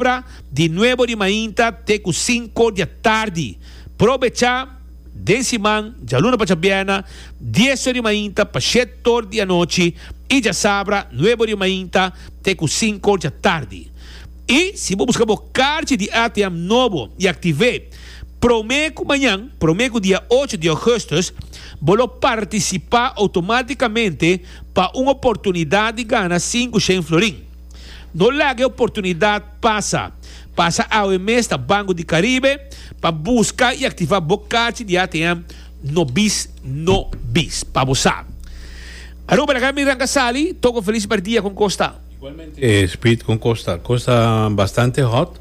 Djasabra di nuebo di mainta te ku sinko di atardi. Probecha den siman djaluna pa djabièrnè dies or di mainta pa shet or di anochi i djasabra nuebo di mainta te ku sinko or di atardi. I si bo buska bo karchi di ATM nobo i aktiv'é promé ku mañan, promé ku dia ocho di ougùstùs, bo lo partisipá outomátikamente pa un oportunidat di gana 500 florin. No laga e oportunidat pasa. Pasa awe mes na Banco di Caribe pa buska i aktivá bo karchi di ATM No Bis No Bis. Pa bo sa. Aruba laga mi ranka sali, toko felis merdia kon kos ta. Igualmente Speed kon kos ta? Kos ta bastante hot.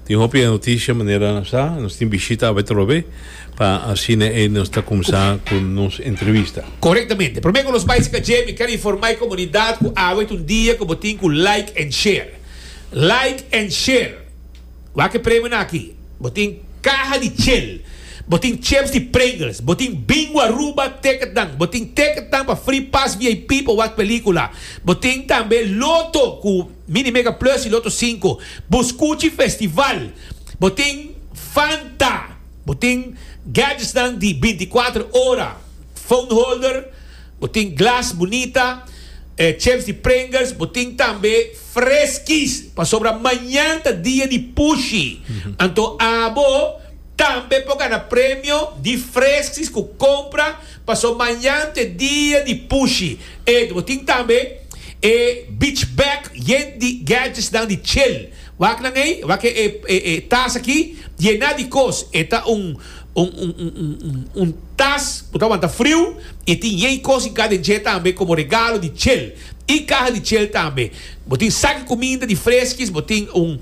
Tin hopi e noticia manera nos sa. Nos tin bishita awe trobe pa asina e nos ta kumsa ku nos entrevista. Korektamente. Prome ku nos bai sika dje mi ker informa e komunidat ku awe ta un dia ku bo tin ku like and share. Like and share. Wak e premionan aki. Bo tin kaha di chel. Bo tin chips di Pringles. Bo tin Bingo Aruba ticketnan. Bo tin ticketnan pa free pass VIP pa wak pelikula. Bo tin tambe loto ku Mini Mega Plus y Loto 5. Buscuchi Festival. Bo tin Fanta. Bo tin gadgetsnan di 24 ora. Phone holder. Bo tin glas bunita. Chips di Pringles. Bo tin tambe Freskis. Pasobra mañan ta dia di pushi. Anto abo tambe por gana premio di Freskis ku kompra paso mañan ta e dia di pushi. E bo tin tambe e beach bag yen di gadgetsnan di chill. Wak nan ei, wak e e tas aki yená di kos. E ta un un un un un tas ku ta wanta friu i tin yen kos hinká den dje tambe komo regalo di chill. I kaha di chel tambe. Bo tin sak di kuminda di freskis, bo tin un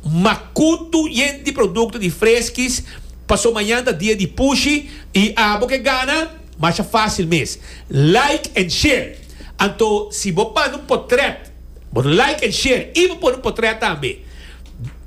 makutu yen di produkto di freskis, paso mañan ta dia di pushi i abo ke gana masha fásil mes. Like and share. Anto si bo manda un potrèt, bo like and share i bo pone un potrèt tambe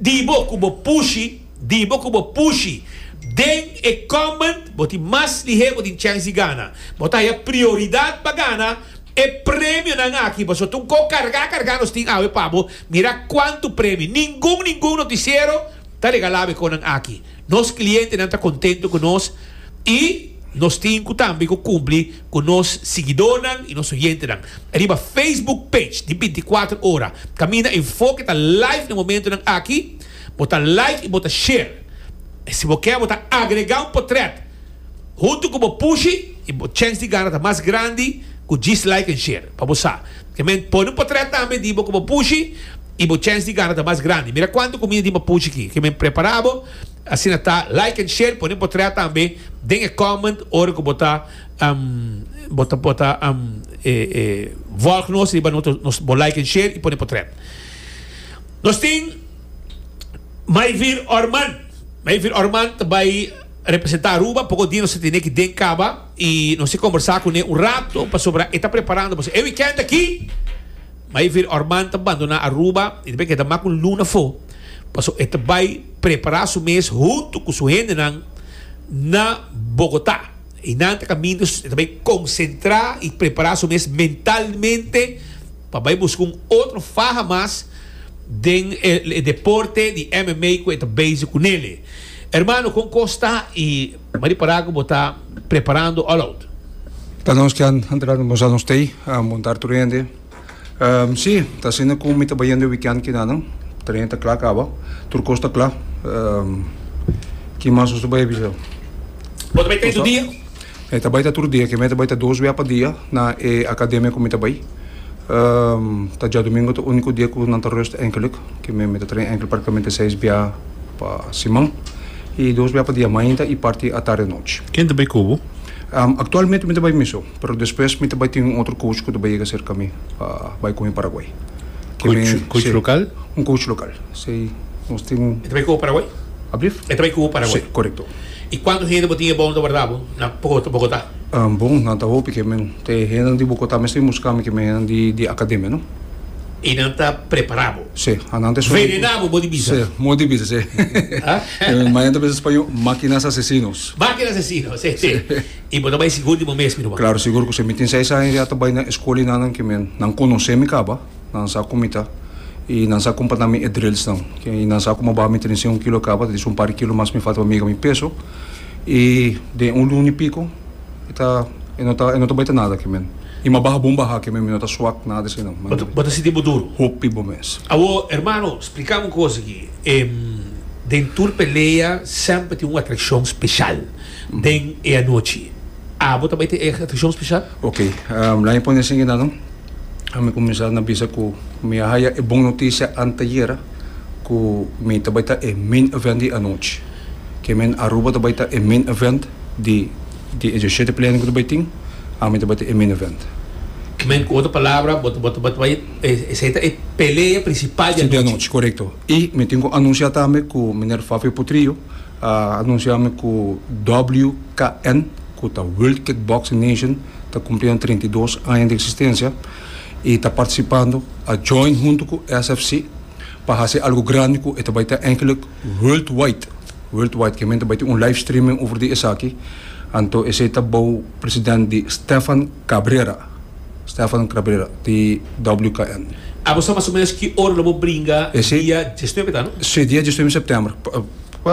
di bo ku bo pushi, di bo ku bo pushi den e comment, bo tin mas lihé bo tin chèns di gana. Bo ta haya prioridat pa gana. E premionan aki pasobra ta un ko kargá kargá nos tin awe pa bo mira kuantu premio. Ningun ningun notisiero ta regalá bo e konan aki. Nos klientenan ta kontentu ku nos i nos tin ku tambe ku kumpli ku nos siguidornan i nos oyentenan. Riba Facebook page di 24 ora kaminda Enfoke ta live na momentunan aki bo ta like i bo ta share. Si bo ke bo ta agregá un potrèt. Huntu ku bo pushi i bo chèns di gana ta mas grandi ku djis like en share. Pa bo sa. Ke men pone un potrèt tambe di bo ku bo pushi i bo chèns di gana ta mas grandi. Mira kuantu kuminda tin pa pushi aki. Ke men prepara bo asina ta like en share pone un potrèt tambe den e comment ora ku bo ta bo ta bo ta volg nos riba nos bo like en share i pone potrèt. Nos tin Mayvir Orman. Mayvir Orman ta bai. Representa Aruba, poko dia nos ta tene aki den Caba y nos a combersa cune un rato pasobra e ta preparando pasobra e weekend aki Mayvir Orman ta bandona Aruba y ta bay keda mas cu un luna afo pasobra e ta bay prepara su mes hunto cu su hendenan na Bogota y nan ta caminda e ta bay concentra y prepara su mes mentalmente pa bay busca un otro faha mas den e deporte di MMA cu e ta bezig cunele. Hermano con cos ta y mari para cu bo ta preparando all out. Ta nos ke antra nos a nos tey a montar tur hende. Si, ta asina cu mi ta bayendo e weekend kinanan. Train ta cla caba. Tur cos ta cla. Ki mas nos ta bay bisa? Bo ta bay train tur dia? E ta bay ta tur dia. Ke mi ta bay ta dos bia pa dia na e academia cu mi ta bay. Ta djadomingo ta unico dia cu nan ta rust enkelijk. Ke mi ta train enkel practicamente seis bia pa siman y dos bia pa dia mainta y parti atardi anochi. Ken ta bay cu bo? Actualmente mi ta bay mi so, pero despues mi ta bay tin un otro coach cu ta bay yega cerca mi pa bay cu mi Paraguay. Coach, coach local? Un coach local, si. Nos tin. E ta bay cu bo Paraguay? Ablief? E ta bay cu bo Paraguay? Si, corecto. Y cuanto hende bo tin e bon ta warda bo na Bogota? Bon, nan ta hopi ke men. Te hendenan di Bogota mes ta bin buska mi ke men hendenan di di academia no. Y nan ta prepara bo. Si, anan ta esun. Venena bo, bo di bisa. Si, mo di bisa, si. Mañana ta bisa spañó, máquinas asesinos. Máquinas asesinos, si, si. Y bo ta bai sigur di bo mes, mi ruman. Claro, sigur cu si. Mi tin seis aña ya ta bai na escuela y nan ke men, nan conoce mi caba, nan sa cu mi ta. I nan sa kumpa na mi e drillsnan. I nan sa ku mi a baha mi 31 kilo kaba, ta disi un par di kilo mas mi falta pa mi yega mi peso. I den un luna i piko e ta e no ta e no ta bai ta nada ke men. I mi a baha bon baha ke men, mi no ta swak nada esei nan. Bo ta sinti bo duru? Hopi bo mes. Awor, hermano, splika mi un kos aki. Den tur pelea semper tin un atrakshon speshal den e anochi. Abo ta bai tin e atrakshon speshal? Ok, laat mi pone esei nan. Mi kuminsá na bisa ku mi a haya e bon notisia antayera ku mi ta bai ta e main event di anochi. Ke men Aruba ta bai ta e main event di di e diashete plenan ku ta bai tin, ami ta bai ta e main event. Ke men ku otro palabra bo ta bo ta bai esei ta e pelea prinsipal di anochi. Di anochi, korekto. I mi tin ku anunsiá tambe ku meneer Fafio Potrillo a anunsiá mi ku WKN, ku ta World Kickboxing Nation, ta kumpliendo 32 aña di eksistensia i ta partisipando, a join huntu ku SFC pa hasi algu grandi ku e ta bai ta enkele worldwide, worldwide, ke men ta bai tin un live streaming over di esaki, anto esei ta bou president di Stefan Cabrera, Stefan Cabrera di WKN. Abo sa mas o menos ki ora lo bo bringa dia diesnuebe ta no? Si, dia diesnuebe september.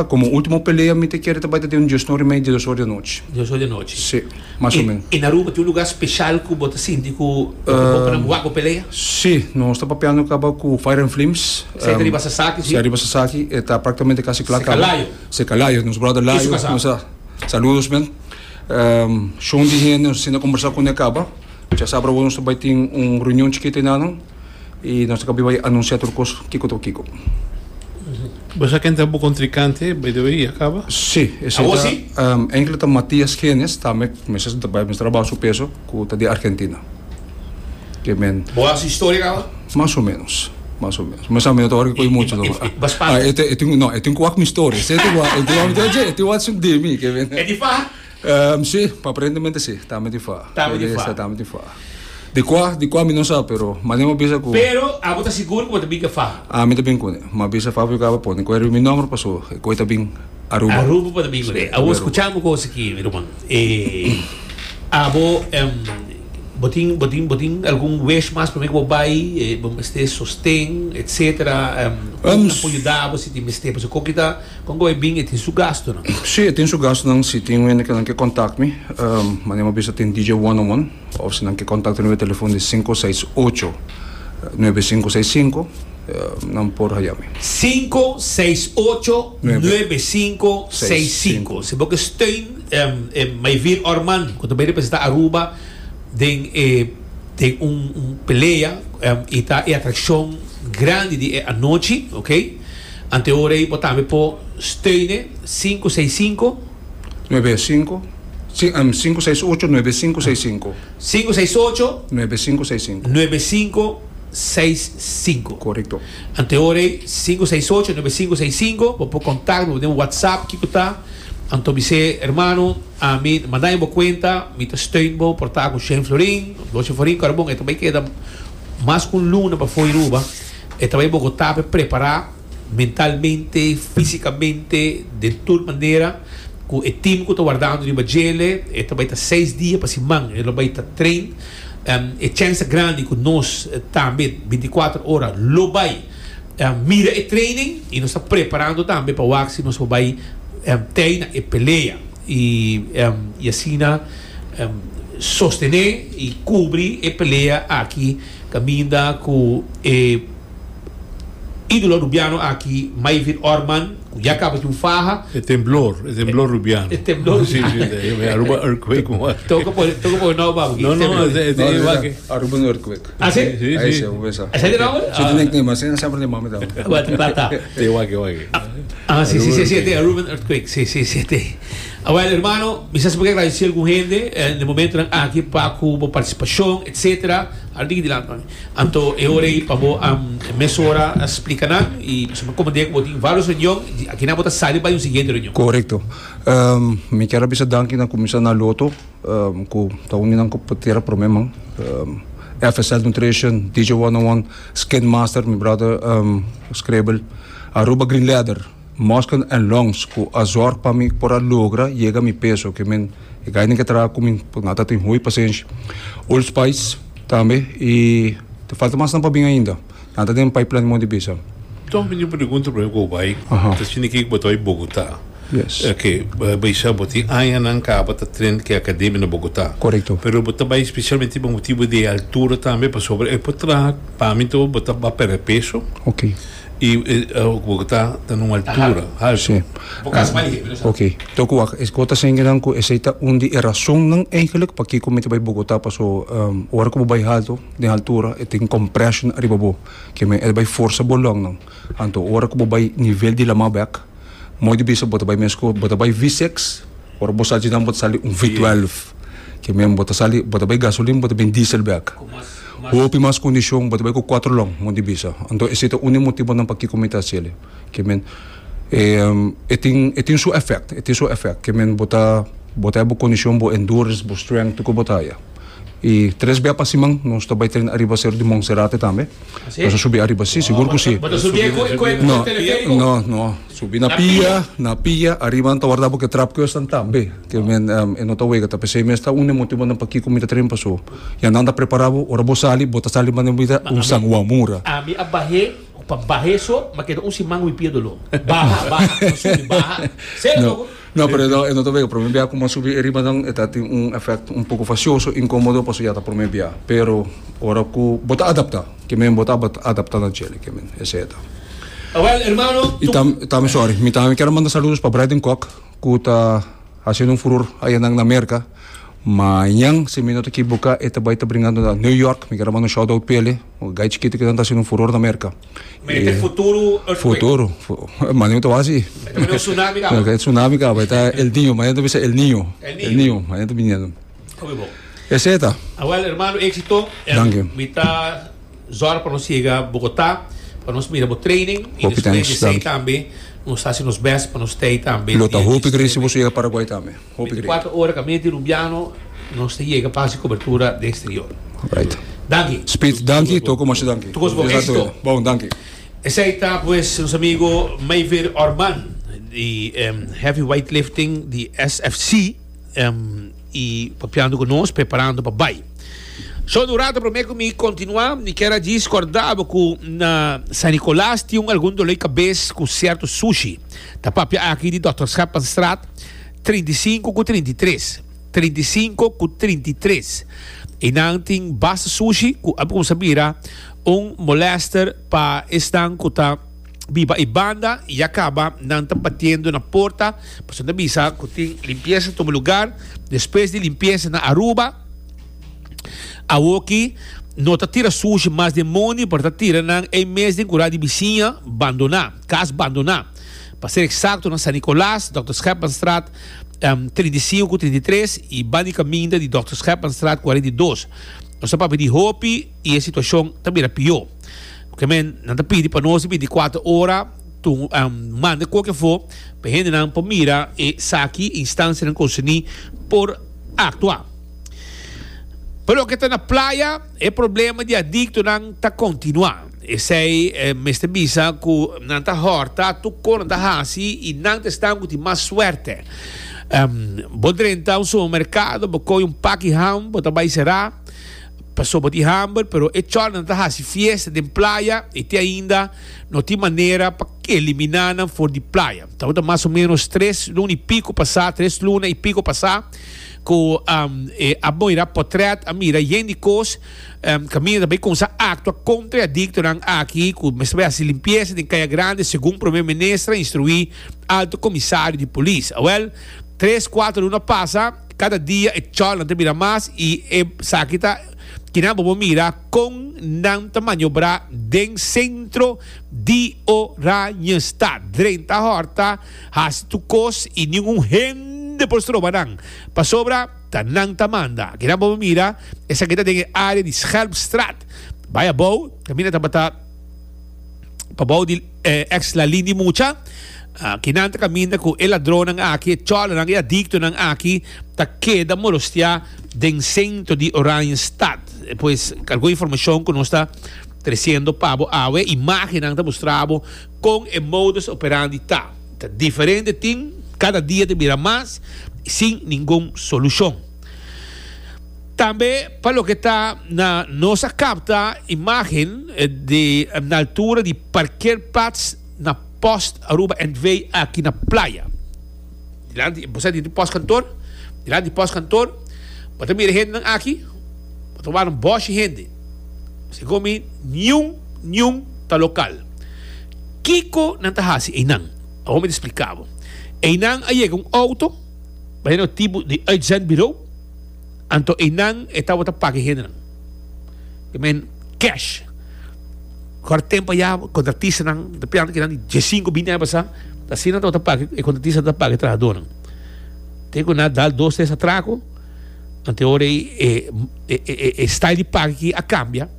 Komo ultimo pelea mi ta kere ta bai ta den un diesnuebe i mei, diesdos or di anochi. Diesdos or di anochi. Si, mas o menos. I na Aruba tin un lugar special ku bo ta sinti ku bo ta bon pa nan wak bo pelea? Si, nos ta papiando kaba ku Fire and Flames. Esei ta riba Sasaki, si? Si, riba Sasaki. E ta praktikamente kasi kla kaba. Seka Layo. Seka Layo, nos brother Layo. I su kasá. Nos a saludos men. Shon di hende nos a sinta kombersá kuné kaba. Djasabra awor nos ta bai tin un reunion chikito enanan. I nos ta kabi bai anunsiá tur kos kiko ta kiko. Bo sa ken ta bo kontrinkante, by the way, ya kaba? Sí, esei Awor ta sí? enkele ta Matias Genes, tambe mester ta bai mester a baha su peso, ku ta di Argentina. Ke men. Bo a su historia kaba? Mas o menos, mas o menos. Mi sa mi no ta wòrdu koe muchu no. I bo spanta? Ah, e e tin, no, e tin ku wak mi historia. Esei tin wak, e tin wak mi dje, e tin wak su di mi, ke men. E di faha? Sí, aparentemente sí, tambe di faha. Tambe di faha. Tambe di faha. Di kua, di kua mi no sa, pero manera mi a bisa ku. Pero abo ta sigur ku bo ta bin ku e faha? Ami ta bin kuné. Mi a bisa Fabio kaba pone ku e riba mi nòmber paso e koi ta bin Aruba. Aruba bo ta bin kuné. Awor skucha mi kos aki, mi ruman. Abo bo tin, bo tin, bo tin algun wish mas promé ku bo bai? Bo mester sosten, etcetera? Kon nan por yuda bo si tin mester? Pasobra koki ta. Kon ku e bin e tin su gastunan? Sí, e tin su gastunan. Si tin hende ku nan ke kontak mi, manera mi a bisa tin DJ One on One, òf si nan ke kontakta mi riba telefon di 568 9565, nan por haya mi. 568 9565. Si bo ke steun Mayvir Orman ku ta bai representa Aruba den e den un pelea i ta e atrakshon grandi di e anochi, ok. Ante ora ei bo tambe por steune sinku seis sinku. Nuebe sinku, sinku seis ocho, nuebe sinku seis sinku. Sinku seis ocho. Nuebe sinku seis sinku. Nuebe sinku seis sinku. Korekto. Ante ora ei sinku seis ocho, nuebe sinku seis sinku, bo por kontak, bo por den WhatsApp kiko ta. Anto bis'é, Hermano, ami manda mi bo kuenta, mi ta steun bo por ta ku shen florin, doshen florin, kòrda bon e ta bai keda mas ku un luna pafó Aruba. E ta bai Bogotá pa e prepará mentalmente, físikamente, den tur manera ku e tim ku ta wardando riba djele. E ta bai ta seis dia pa siman e lo bai ta train. E chèns ta grandi ku nos tambe binti kuater ora lo bai mira e training i nos ta preparando tambe pa wak si nos por bai tei na e pelea i asina sostené i kubri e pelea aki. Caminda cu e idolo Rubiano aki, Mayvin Orman, cu ya caba tin un faha. E temblor, e temblor Rubiano. E temblor Rubiano. Si, si, e Aruba earthquake. Toca por, toca por nou babo. No, no, e e wak. Aruba earthquake. Ah, si? Si, si. Esey ta nomber? Si, tin nickname, asina semper tin mami tambe. Wat, wat ta? Te wak, wak. Ah, si, si, si, si, te Aruban earthquake. Si, si, si, te. Awel, hermano, mi sa si bo ke agradeci algun hende den momentonan aki pa cu bo participacion, etcetera. Al diki dilanti mami. Anto e ora ei pa bo mesora a splica nan y pasobra mi comprende cu bo tin varios reunion y aki nan bo ta sali bai un siguiente reunion. Corecto. Mi kier a bisa danki na cuminsa na Lotto cu ta uni nan cu tera prome man. FSL Nutrition, DJ 101, Skin Master, mi brother Scribble, Aruba Green Leather. Mosken en Longs ku a zorg pa mi por a logra yega mi peso ke men e gainan ke traha ku mi por nan ta tin hopi pasenshi. Old Spice tambe i ta falta mas nan pa bin ainda. Nan ta den pipeline mondi bisa. Toch mi tin un pregunta prome ku bo bai. Ta sinti ke ku bo ta bai Bogotá. Yes. Oke, bo bisa bo tin añanan kaba ta train ku e akademia na Bogotá. Korekto. Pero bo ta bai spesialmente pa motibu di e altura tambe pasobra e por traha pa mi to bo ta ba pèrdè peso. Oke. I Bogotá ta na un altura haltu. Sí. Bo kasa mas lihé, mi no sa. Oke. Tok wak, e kos ta sengenan ku esei ta un di e rasonnan eigenlijk pakiko mi ta bai Bogotá paso ora ku bo bai haltu, den altura, e tin compression ariba bo. Ke men e ta bai forsa bo longnan. Anto ora ku bo bai nivel di lamá bèk, mooi di bisa bo ta bai mes ku bo ta bai V6, ora bo sali djinan bo ta sali un V12. Ke men bo ta sali, bo ta bai gasolin, bo ta bin diesel bèk. Hopi mas kondishon, bo ta bai ku kuatro long, mooi di bisa. Anto esei ta un di motibonan pakiko mi ta hasiel. Ke men e tin e tin su effect, e tin su effect. Ke men bo ta bo ta bo kondishon, bo endurance, bo strength, tur ku bo ta haya. I tres bia pa siman nos ta bai train ariba Seru di Monserrate tambe. Nos a subi ariba, si, sigur ku si. Bo ta subi ku ku e teleferico? No, no, subi na pia, na pia, ariba nan ta warda bo ku e trapkeusnan tambe. Ke men e no ta wega, ta p'esei mes ta un di e motibonan pakiko mi ta train paso. Ya nan ta prepara bo, ora bo sali, bo ta sali manera bo ta un sanguamura. Ami a bah'é, pa bah'é so, m'a keda un siman ku mi pia doló. Baha, baha, no subi, baha. Serio loco. No, pero e no ta wega. Prome bia ku bo a subi e riba nan e ta tin un efèkt un poko fasioso, inkomodo, pasobra ya ta prome bia. Pero ora ku bo ta adaptá, ke men bo ta adaptá na djele, ke men esei e ta. Awel, hermano, I tam, tambe, sorry, mi tambe kier a manda saludos pa Brayden Kok, ku ta hasiendo un furor ayanan na Merka. Mañan, si mi no ta ekiboká, e ta bai ta bringando na New York. Mi kier a manda un shout out p'e. Un gai chikito ki nan ta hasiendo un furor na Merka. Mete futuro earthquake. Futuro. Mane ta wasi. E ta un tsunami kaba. E tsunami kaba. E ta El Niño. Mane ta bisa El Niño. El Niño. El Niño. Mane ta biniendo. Hopi bon. Esei ta. Awel hermano éxito. Danki. Mi ta zorg pa nos yega Bogotá pa nos mira bo training y Hopi despues thanks. di esei Danki. tambe nos ta hasi nos best pa nos tei tambe Lo ta dia hopi great si 19. boso yega Paraguay tambe. Hopi great. 24 ora kaminda di Rubiano nos ta yega pa hasi kobertura den exterior. Right. Danki. Speed, danki. Toko masha danki. Toko bon. Éxito. Bon, danki. Esei ta pues nos amigo Mayver Orman di Heavy Weightlifting di SFC y papiando cu nos preparando pa bay. So un rato prome cu mi continua mi kier a djis corda bo cu na San Nicolas tin un algun dolor cabes cu cierto sushi. Ta papia aki di Dòkter Scheppenstraat 35 ku 33. 35 ku 33. I nan tin basta sushi ku a kuminsá bira un molèster pa esnan ku ta biba e banda i ya kaba nan ta batiendo na porta pasobra nan ta bisa ku tin limpiesa tuma lugar despues di limpiesa na Aruba. Awoki no ta tira sushi mas den mondi pero ta tira nan ei mes den kura di bisiña bandoná, kas bandoná. Pa ser eksakto na San Nicolas, Dòkter Schepmanstraat 35 ku 33 i banda di kaminda di Dòkter Schepmanstraat 42. Nos ta papia di hopi i e situashon ta bira pió. Ke men nan ta pidi pa nos di 24 ora tu manda koke afó pa e hendenan por mira esaki, instansianan konserní por aktua. Pa loke ta na playa, e problema di adictonan ta continua. Esey mester bisa cu nan ta horta tur con nan ta haci y nan ta esnan cu tin mas suerte. Bo drenta un supermercado, bo coge un paki ham, bo ta bay cera pasobra bo tin hamber, pero e chornan ta haci fiesta den playa y te ainda no tin manera pa elimina nan for di playa. Tabata mas o menos tres luna y pico pasa, tres luna y pico pasa. Ku e a mira potret, a mira yen di kos, kaminda ta bai kumsa aktua kontra e adiktonan aki ku mester bai hasi limpiesa den Kaya Grande segun Prome Minister a instruí Alto Komisario di Polis. Awel, tres kuater luna pasa, kada dia e chòlnan ta bira mas i esaki ta kinan bo por mira kon nan ta maniobrá den sentro di Oranjestad. Drenta hòrta. Hasi tur kos i ningun hende por stroba nan, pasobra ta nan ta manda. Kinan bo mira esaki ta den e área di Schelpstraat. Bai abou, kaminda tabata pabou di ex Lalin di Mucha. Kinan ta kaminda ku e ladronnan aki, e chòlernan, e adiktonan aki ta keda molostiá den sentro di Oranjestad. Pues algun informashon ku nos ta tresiendo pa bo awe, imágennan ta mustra bo. Kon e modus operandi ta? Ta diferente tin, kada dia ta bira mas sin ningun solushon. Tambe pa loke ta na nos a capta imagen di na altura di parkeerplaats na Post Aruba NV aki na Playa. Dilanti, bo sa di postkantoor, dilanti di postkantoor, bo ta mira hendenan aki, bo ta wak un boshi hende. Segun mi, niun, niun ta lokal. Kiko nan ta hasi einan? Awor mi ta splika bo. Einan a yega un auto, manera un tipo di uitzendbureau, Anto einan e tabata paga e hendenan. I men cash. Kor tempo aya kontratistanan ta pianta kinan di diesinko binti aña pasá asina nan tabata paga e kontratistanan tabata paga e trahadónan. Te ku nan a dal dos tres atrako anto e ora ei e e e style di paga aki a kambia.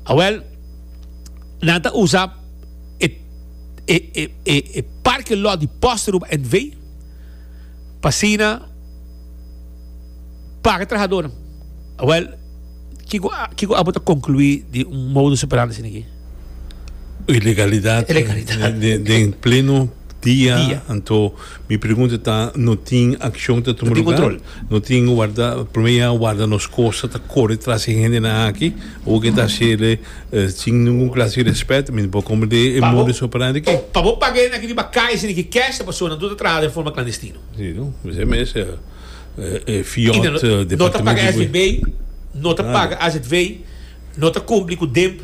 Awèl nan ta usa e e e e parke lòt di Post Aruba NV pa asina. Paga trahadornan. Awel, kiko kiko abo ta konkluí di un modus operandi asina aki? Ilegalidad. Ilegalidad. Den, den pleno dia. Dia. Anto mi pregunta ta, no tin akshon ta tuma No tin lugar? control. No tin warda, prome ya warda nos kosta ta kore tras e hendenan aki, awor ke ta hasiele sin ningun klase di respet, mi no por komprende e Pa bo, modus operandi aki. pa bo paga e hendenan aki riba kaya asina ki cash ta pasobra nan tur ta traha den forma klandestino. Si, no? Esei mes. E fiat No ta paga SVB, no ta paga AZV, no ta cumpli cu DIMP.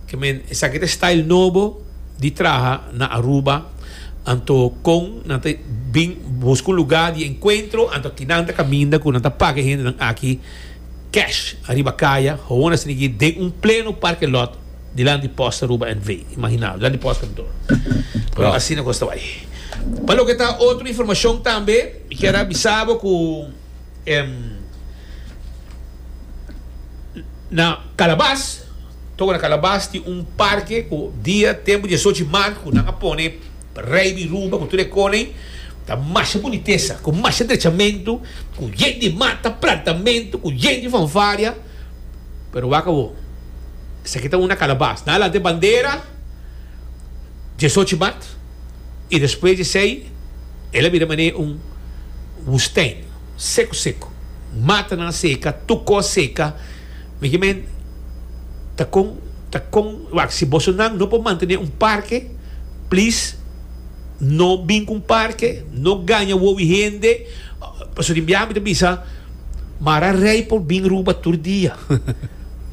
Ke men esaki ta style nobo di traha na Aruba. Anto con nan ta bin busca un lugar di encuentro, anto aki nan ta caminda cu nan ta paga e hendenan aki cash ariba caya, gewoon asina aki den un pleno parke lot dilanti Post Aruba NV. Imagina, dilanti Post Kantoor. Pero asina cos ta bay. Pa loke ta otro informacion tambe. Mi kier a bisa bo ku na Calabas, toko na Calabas tin un parke ku dia tempu diesocho di mart ku nan a pone Rei di Ruba ku tur e konei, ta masha bunitesa, ku masha drechamentu, ku yen di mata, plantamentu, ku yen di fanfaria, pero wak awor, esaki ta un na Calabas, nan a lanta e bandera diesocho di mart. I despues di esei el a bira manera un wustijn, seku seku. Matanan a seka, tur kos a seka. Mi ke men, ta kon, ta kon, wak, si bosonan no por mantené un parke, please no bin ku un parke, no gaña wowi hende. Pasobra di biaha mi ta bisa, mara rei por bin Ruba tur dia.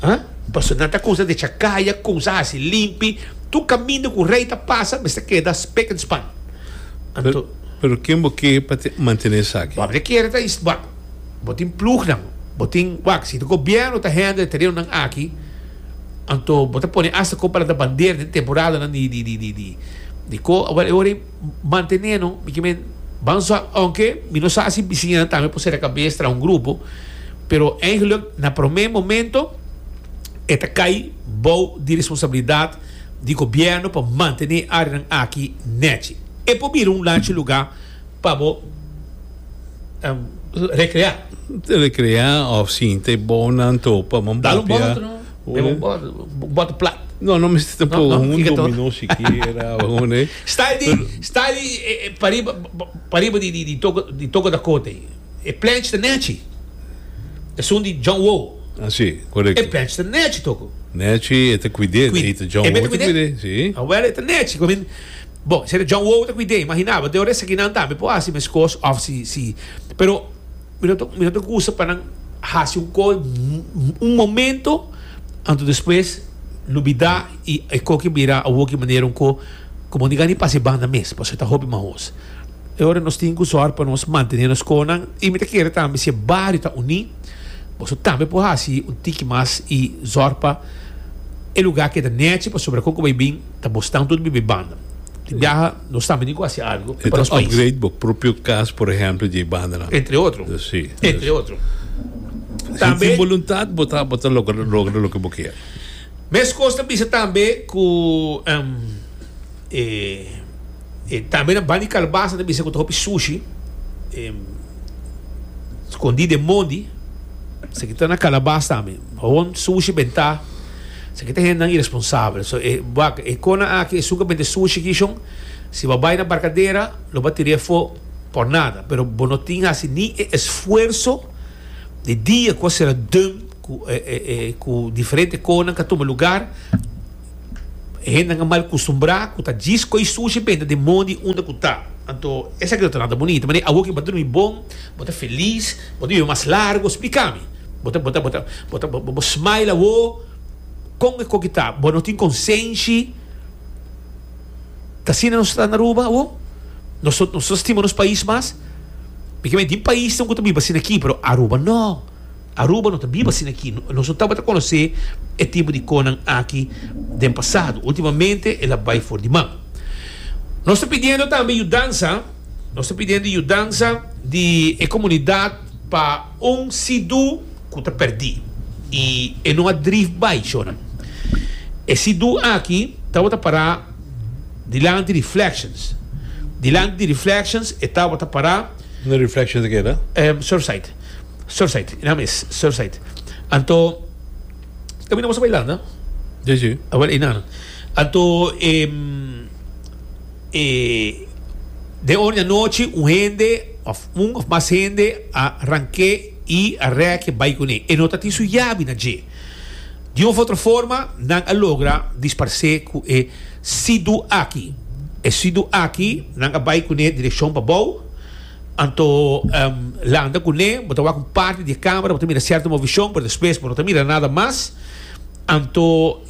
Ha? Pasobra nan ta kumsa decha kaya, kumsa hasi limpi. Tur kaminda ku rei ta pasa mester keda spik en span. Anto. Pero ken bo ke pa mantene esaki? Bo ta kere ta wak, bo tin plugnan, bo tin wak, si gobierno ta handle e terenonan aki, anto bo ta pone asta kon pa lanta bandera den temporadanan di di di di di di ko, awor e ora ei mantene no, mi ke men ban sa, aunke mi no sa si bisiñanan tambe por sera kabes traha un grupo, pero eigenlijk na prome momento e ta kai bou di responsabilidat di gobièrnu pa mantené e áreanan aki nèchi. E por bira un lanchi lugá pa bo rekreá. Rekreá òf sinta e bounan topa man Dal un papia. bòt no? Bebe un bòt, un bòt plat. No, no mester No, tampoco no, un kiko to? dominó sikiera òf un e. Style di, style di pariba, pariba di di toko di toko Dakota ei. E plench ta nèchi. Esun di John Woo. Ah, si, korekto. E plench ta nèchi toko. Nèchi, e ta kuid'é. E ta John Woo ta kuid'é, si. Awel, e ta nèchi. Ku mi, bon, si e ta John Woo ta kuid'é, imaginá bo, den ora esakinan tambe por hasi meskos òf si, si. Pero mi no ta, mi no ta gusta pa nan hasi un kos un momento, anto despues lubidá i e koki bira awoki manera un ko ku bo no gana di pasa e banda mes, pasobra e ta hopi mahos. E ora nos tin ku sòru pa nos mantené nos konan i mi ta kere tambe si e bario ta uní, boso tambe por hasi un tiki mas i sòru pa e lugá keda nèchi pasobra kon ku bai bin ta bosnan tur biba e banda. Tin biaha nos tambe tin ku hasi algu E pa ta nos pais. upgrade bo propio kas por ehèmpel dje bandanan. Entre otro. Si. Entre otro. Si Tambe. tin boluntat bo ta bo ta logra logra loke bo kier. Meskos ta bisa tambe ku e. E tambe na banda di Calabasa ta bisa ku ta hopi sushi skondí den mondi. Esaki ta na Calabas tambe. Hon sushi bentá. Esaki ta hendenan iresponsabel. So e wak e kona aki esun ku a bende sushi aki shon si bo a bai na Barcadera lo bo a tir'é afó por nada. Pero bo no tin hasi ni e esfuerso. Di dia ku a sera dum ku ku diferente konan ka tuma lugar, e hendenan a mal kustumbrá ku ta djis koi sushi benta den mondi unda ku ta. Anto esaki no ta nada bunita. Manera awor ku bo ta drumi bon, bo ta felis, bo ta biba mas largu. Splika mi. Bo ta bo ta bo ta bo ta bo smile awor. Kon e koki ta? Bo no tin konsenshi? Ta asina nos ta na Aruba awor? Nos nos ta stima nos pais mas? Mi ke men tin paisnan ku ta biba asina aki, pero Aruba no. Aruba no ta biba asina aki. Nos no tabata konosé e tipo di konan aki den pasado. Ultimamente el a bai for di man. Nos ta pidiendo tambe yudansa, nos ta pidiendo yudansa di e komunidat pa un sidu ku ta pèrdí i e no a drif bai, shornan. E sidu aki tabata pará dilanti Reflections. Dilanti di Reflections e tabata pará. Unda Reflections a keda? Surfside. Surfside, e nam es Surfside. Anto, kaminda boso bailando? Sí, sí. Awel, einan. Anto, e, e, den ora di anochi un hende of un of mas hende a rank'é i a rèk'é bai kuné. E no ta tin su yabi na dje. Di un of otro forma nan a logra disparsé ku e sidu aki. E sidu aki nan a bai kuné direkshon pabou, anto landa kuné, bo ta wak un parti di e kamera, bo ta mira sierto movishon, pero despues bo no ta mira nada mas. Anto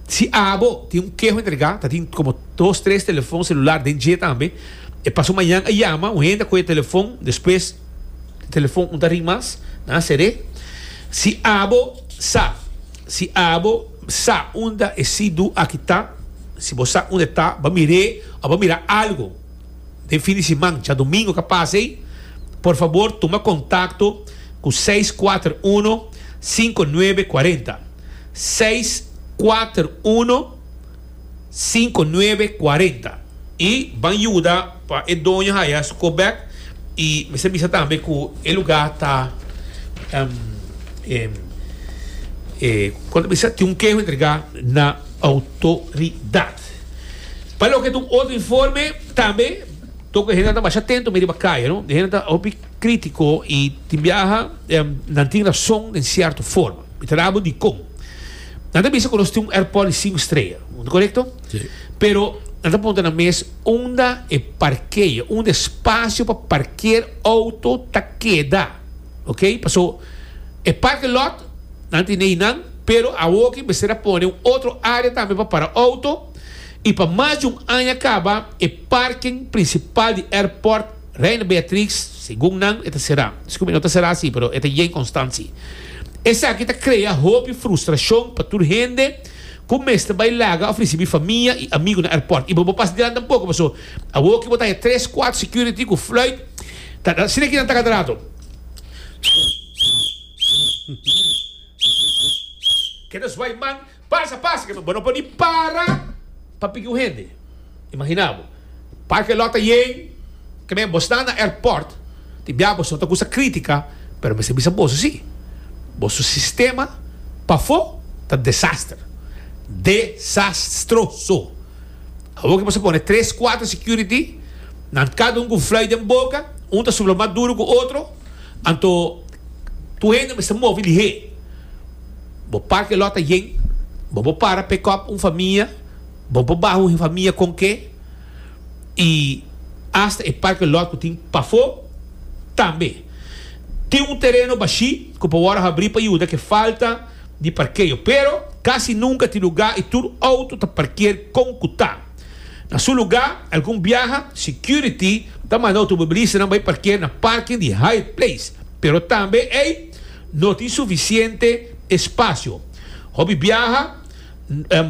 si abo tin un keho entregá, ta tin komo dos tres telefon selular den dje tambe, e paso mañan a yama un hende a kohe e telefon, despues. Telefon un ta ring mas, nan a ser'é. Si abo sa, si abo sa unda e sidu aki ta, si bo sa unda e ta, bo a mir'é òf bo a mira algu den fin di siman, djadumingu ka pasa ei, por fabor tuma kontakto ku seis kuater uno, sinku nuebe kuarenta. Seis kuater uno, sinku nuebe kuarenta. I ban yuda pa e doño haya su kop bek i mester bisa tambe ku e luga ta kon ta bisa tin un keho entrega na outoridat. Pa loke ta un otro informe tambe toko e hende ta masha atento mi riba kaya no e hende ta hopi kritiko i tin biaha nan tin rason den sierto forma. Mi ta rabo dikon. Nan ta bisa ku nos tin un airport di sinku strea, korekto? Pero nan ta puntra nan mes unda e parkeo, unda e spasio pa parkeer auto ta keda. Ok, paso e parking lot nan tin einan, pero awoki mester a pone un otro area tambe pa para auto y pa mas di un aña caba e parking principal di airport Reina Beatrix segun nan e ta sera. Disculpe, no ta sera si, pero e ta yen constant si. Esaki ta crea hopi frustracion pa tur hende. Ku mester bai laga òf risibí famia i amigu na airport. I bo bo pasa dilanti tampoko paso awor ki bo ta haña tres kuater security ku fluit ta asina ki nan ta kada rato. Keda zwai man pasa pasa bo no por ni para pa piki un hende. Imagina bo parke lot ta yen ke men bo sta na airport tin bia boso no ta gusta kritika pero mester bisa boso si boso sistema pafó ta desaster desastroso awor ke boso pone tres kuater security nan kada un ku fluit den boka un ta supla mas duro ku otro anto tur hende mester move lihé bo parke lot ta yen bo por para pick up un famia. Bo por baha un famia kon ke i asta e parke lot ku tin pafó tambe. Tin un tereno bashí ku por wòrdu habrí pa yuda ku e falta di parkeo, pero kasi nunka tin lugá i tur outo ta parkeer kon ku ta. Na su lugá, algun biaha security ta manda outomobilistanan bai parkeer na parking di Hyatt Place, pero tambe ei no tin sufisiente espasio. Hopi biaha.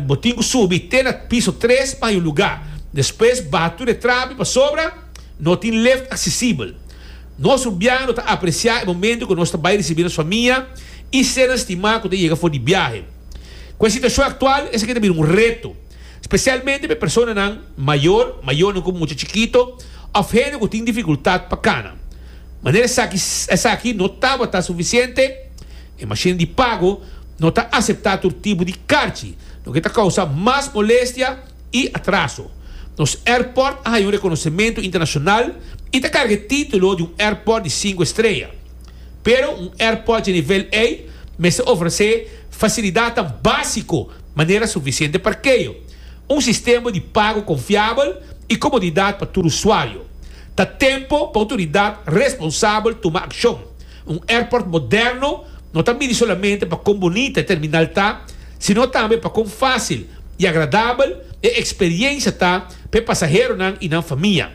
Bo tin ku subi te na piso tres pa haña un lugá. Despues baha tur e trapi pasobra no tin lift aksesibel. Nos rubiano ta apresiá e momento ku nos ta bai risibí nos famia i sernan stimá ku ta yega for di biahe. Ku e situashon aktual esaki ta bira un reto, spesialmente pa e personanan mayor, mayornan ku mucha chikito òf hende ku tin difikultat pa kana. Manera esaki esaki no tabata sufisiente, E mashina di pago no ta aseptá tur tipo di karchi, loke ta kousa mas molestia i atraso. Nos airport a haña un rekonosementu internashonal i ta karga e título di un airport di sinku estrea. Pero un airport dje nivel ei mester ofresé fasilidatnan básiko manera sufisiente parkeo, un sistema di pago konfiabel i komodidat pa tur usuario. Ta tempo pa outoridat responsabel tuma akshon. Un airport moderno no ta midi solamente pa kon bunita e terminal ta, sino tambe pa kon fásil i agradabel e eksperiensia ta pa e pasaheronan i nan famia.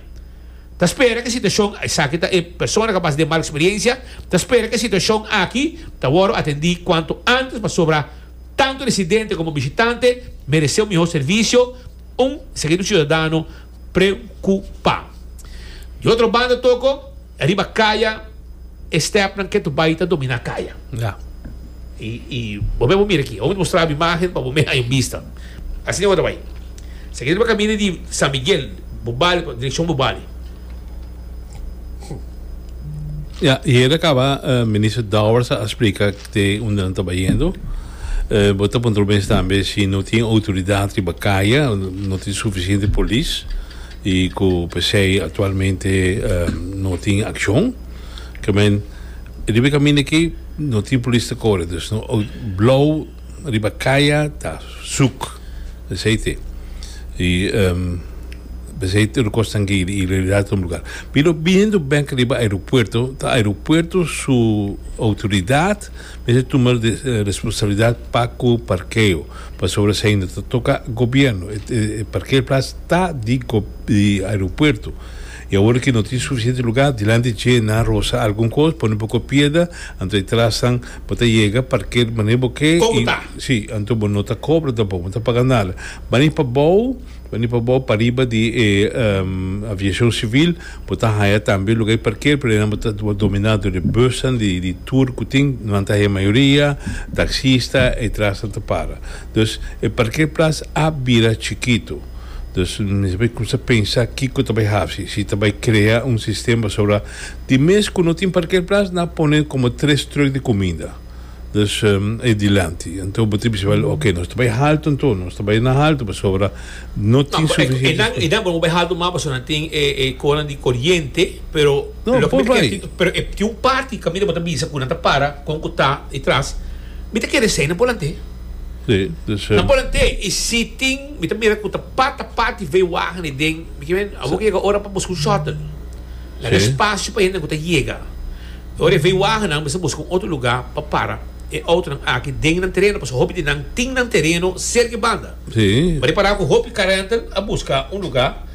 Ta spera ku e situashon, esaki ta e persona ku a pasa den mal eksperiensia, ta spera ku e situashon aki ta wòrdu atendí kuantu ántes pasobra tantu residente komo bishitante meresé un mihó servisio, un esaki ta un siudadano preokupá. Di otro banda toko, riba kaya e stèpnan ke tu bai ta dominá kaya. I i bo mei bo mira aki. Bo mostra bo imágen pa bo mei haña un bista. Asina bo ta bai. Esaki ta riba kaminda di San Miguel, Bobali, direkshon Bobali. Ya, i e ta kaba Minister Dowers a splika te unda nan ta bayendo. Bo ta puntra bo mes tambe si no tin outoridat riba kaya, no tin sufisiente polis i ku p'esei aktualmente no tin akshon. Ke men riba e kaminda aki no tin polis ta kore, dus no blou riba kaya ta suk. Esei te. I p'esei tur kosnan ki ilegalidad ta un lugar. Pero biniendo bek riba aeropuerto, ta aeropuerto su autoridad mester tuma responsabilidad pa ku parkeo. Pasobra esei no ta toka gobierno. E parkeerplaats ta di di aeropuerto. I awor ki no tin sufisiente lugar, dilanti dje nan rosa algun kos, pone un poko piedra, anto e trasnan bo ta yega parker manera bo ke. Kon ta? Si, anto bo no ta kobra tampoco, bo no ta paga nada. Bani pabou, bani pabou pariba di e aviacion civil, bo ta haya tambe lugar di parker, pero einan bo ta domina door e busnan di di tour cu tin, nan ta haya mayoria, taxista, e trasnan ta para. Dus e parkeerplaats a bira chikito. Dus mester bai cuminsa pensa kico ta bai haci, si ta bai crea un sistema pasobra di mes cu no tin parkeerplaats nan a pone como tres truck di cuminda dus e dilanti. Anto bo tin bisa wel ok nos ta bai halto anto nos ta bai na halto pasobra no tin suficiente No, e nan bo bai halto mas pasobra nan tin e conan di coriente pero No, loke por mi ta bai. pero e tin un parti caminda bo ta bisa cu nan ta para con cu ta e tras mi ta kere esey nan por lant'e. Sí, dus. Nan por lant'e y si tin. Mi ta mira ku ta pata pati veewagen ei den. Mi ke men awor ke yega ora pa buska un shuttle. Laga espasio pa hende ku ta yega. Ora e veewagennan mester buska un otro lugá pa para e outonan aki den nan tereno pasobra hopi di nan tin nan tereno serka e banda. Mi a repará ku hopi karentel a buska un lugá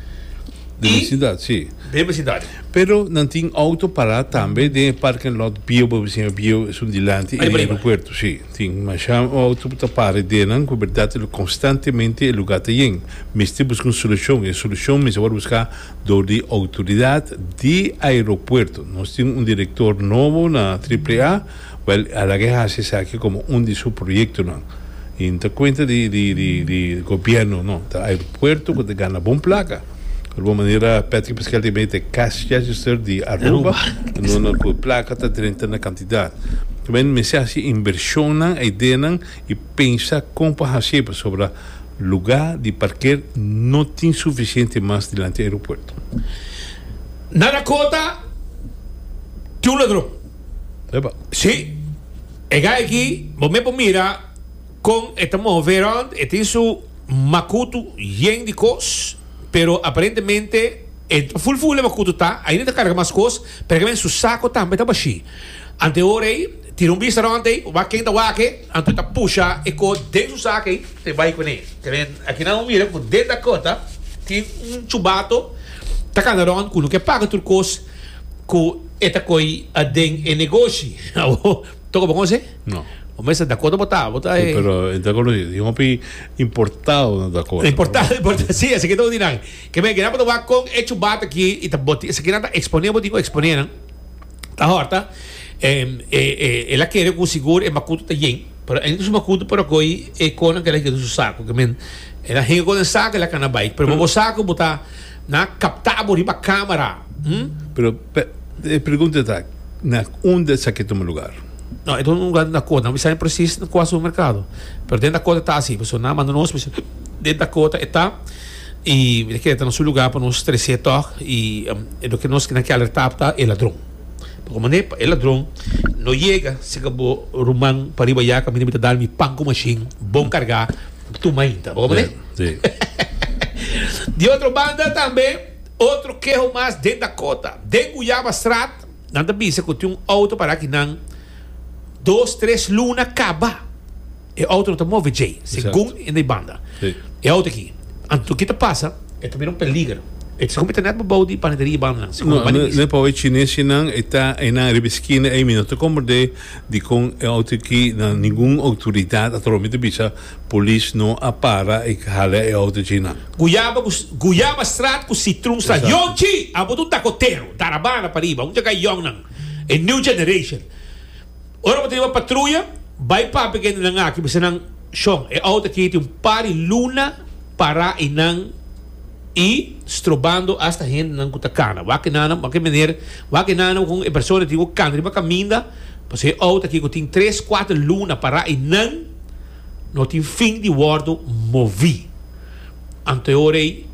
Den besindat, sí. Den besindario. Pero nan tin auto pará tambe den e parking lot bieu, bo bisiña bieu esun dilanti e aeropuerto, sí. Tin masha auto ku ta para den nan ku bèrdat lo konstantemente e lugá ta yen. Mester buska un solushon. E solushon mester wòrdu buská dor di outoridat di aeropuerto. Nos tin un direktor nobo na Triple A, wèl a laga e hasi esaki komo un di su proyektonan. I no ta kuenta di di di di gobièrnu, no, ta aeropuerto ku ta gana bon plaka. Di bon manera Patrick Pascal ta mete cash register di Aruba, no na ku plaka ta drenta na kantidat. Men mester hasi invershonnan, ideanan i pensa kon pa hasié pasobra lugá di parker no tin sufisiente mas dilanti aeropuerto. Na Dakota tin un ladron. Epa. Sí. E guy aki bo me por mira kon e ta move rond, e tin su makutu yen di kos, pero aparentemente e ta ful ful e makutu ta, ainda ta karga mas kos, pero e su sako tambe ta bashí. Ante ora ei, tira un bista rond ei, wak ken ta wak e, anto e ta pusha e kos den su sak ei, te bai kuné. Te men aki nan bo mira ku den Dakota tin un chubato ta kana rond ku no ke paga tur kos ku e ta koi aden e negoshi. Awor, toko bo konosé? No. Bo mester Dakota bo ta, bo ta Sí, e. pero e ta konosí. Tin hopi importado na Dakota. Importado, importado. Sí, esaki ta un di nan. Ke men, ke nan bo ta wak kon e chubato aki i ta boti, esaki nan ta eksponé, bo tin ku eksponé nan. Ta hòrta, el a kere ku sigur e makutu ta yen, pero ainda su makutu por a koi e konan ku el a hinka den su saku. Ke men, el a hinka kon den saku, el a kana bai. Pero bo saku bo ta nan a kapta bo riba kamera. Hm? Pero e pregunta ta, na unda esaki tuma lugar? No, e ta un lugar den Dakota. No mi sabi presis na kua supermerkado. Pero den Dakota ta asi. Pasobra nan a manda nos, bisa den Dakota e ta. I mi ta kere ta na su lugar pa nos tres'é tòg. I loke nos nan ke alertá ta e ladron. Bo mane pa e ladron no yega seka bo ruman pariba ya kaminda mi ta dal mi pan ku mashin bon kargá tuma ainda. Bo mane? Sí. Di otro banda tambe otro keho mas den Dakota. Den Guyabastraat nan ta bisa ku tin un outo para kinan dos tres luna kaba. E auto no ta move djei, segun e na banda. E auto aki. Anto ki ta pasa? E ta bira un peliger. E ta segun mi ta net bou di panaderia banda nan. Segun No, no, no pa e chinesinan e ta einan riba e skina ei mi no ta komprende dikon e auto aki na ningun outoridat a mi ta bisa polis no a para i hala e auto djeinan. Guyaba ku Guyaba straat ku Citroenstraat. Yonchi! Abo ta un dakotero. Darabana pariba. Un djakai yongnan. E new generation. Ora bo ta riba patruya, bai papia ku hendenan aki, bisa nan, Shon, e outo aki tin un par di luna pará einan i strobando asta hendenan ku ta kana. Wak e nana, wak e meneer, wak e nana kon e persona tin ku kana riba kaminda, pasobra e outo aki ku tin tres, kuater luna pará einan no tin fin di wòrdu moví. Anto e ora ei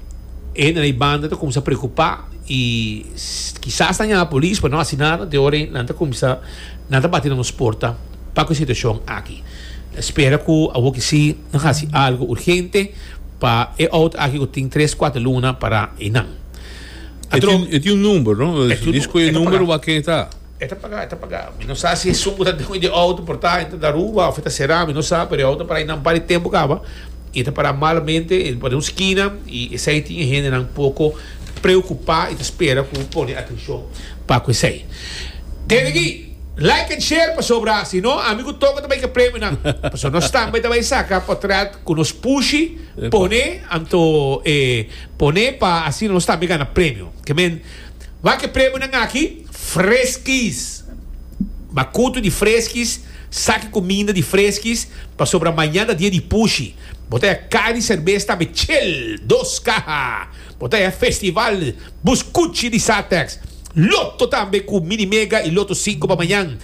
e hendenan ei banda ta kuminsá preokupá i kisas nan yama polis pero no hasi nada. Anto e ora ei nan ta kuminsá, nan ta bati na nos porta pa ku e situashon aki. Ta spera ku awor ki si nan hasi algu urgente pa e outo aki ku tin tres kuater luna pará einan. E tin un number no? Disko e number wak ken e ta. E ta paga, e ta paga. Mi no sa si esun ku ta dueño di e outo por ta e ta na Aruba òf e ta será, mi no sa, pero e outo a para einan un par di tempu kaba i ta para malamente, e ta para den un skina i esei tin e hendenan poko preokupá i ta spera ku pone atenshon pa ku esei. Tende aki, like and share pasobra si no ami ku Toko ta bai ke premionan pasobra nos tambe ta bai saka potrèt ku nos pushi pone anto e pone pa asina nos tambe gana premio. Ke men wak e premionan aki. Freskis! Makutu di freskis, saki kuminda di freskis, pasobra mañan ta dia di pushi. Bo ta haya kaha di serbes tambe chel, dos kaha. Bo ta haya festival buskuchi di Satex, loto tambe ku mini mega i loto sinku pa mañan.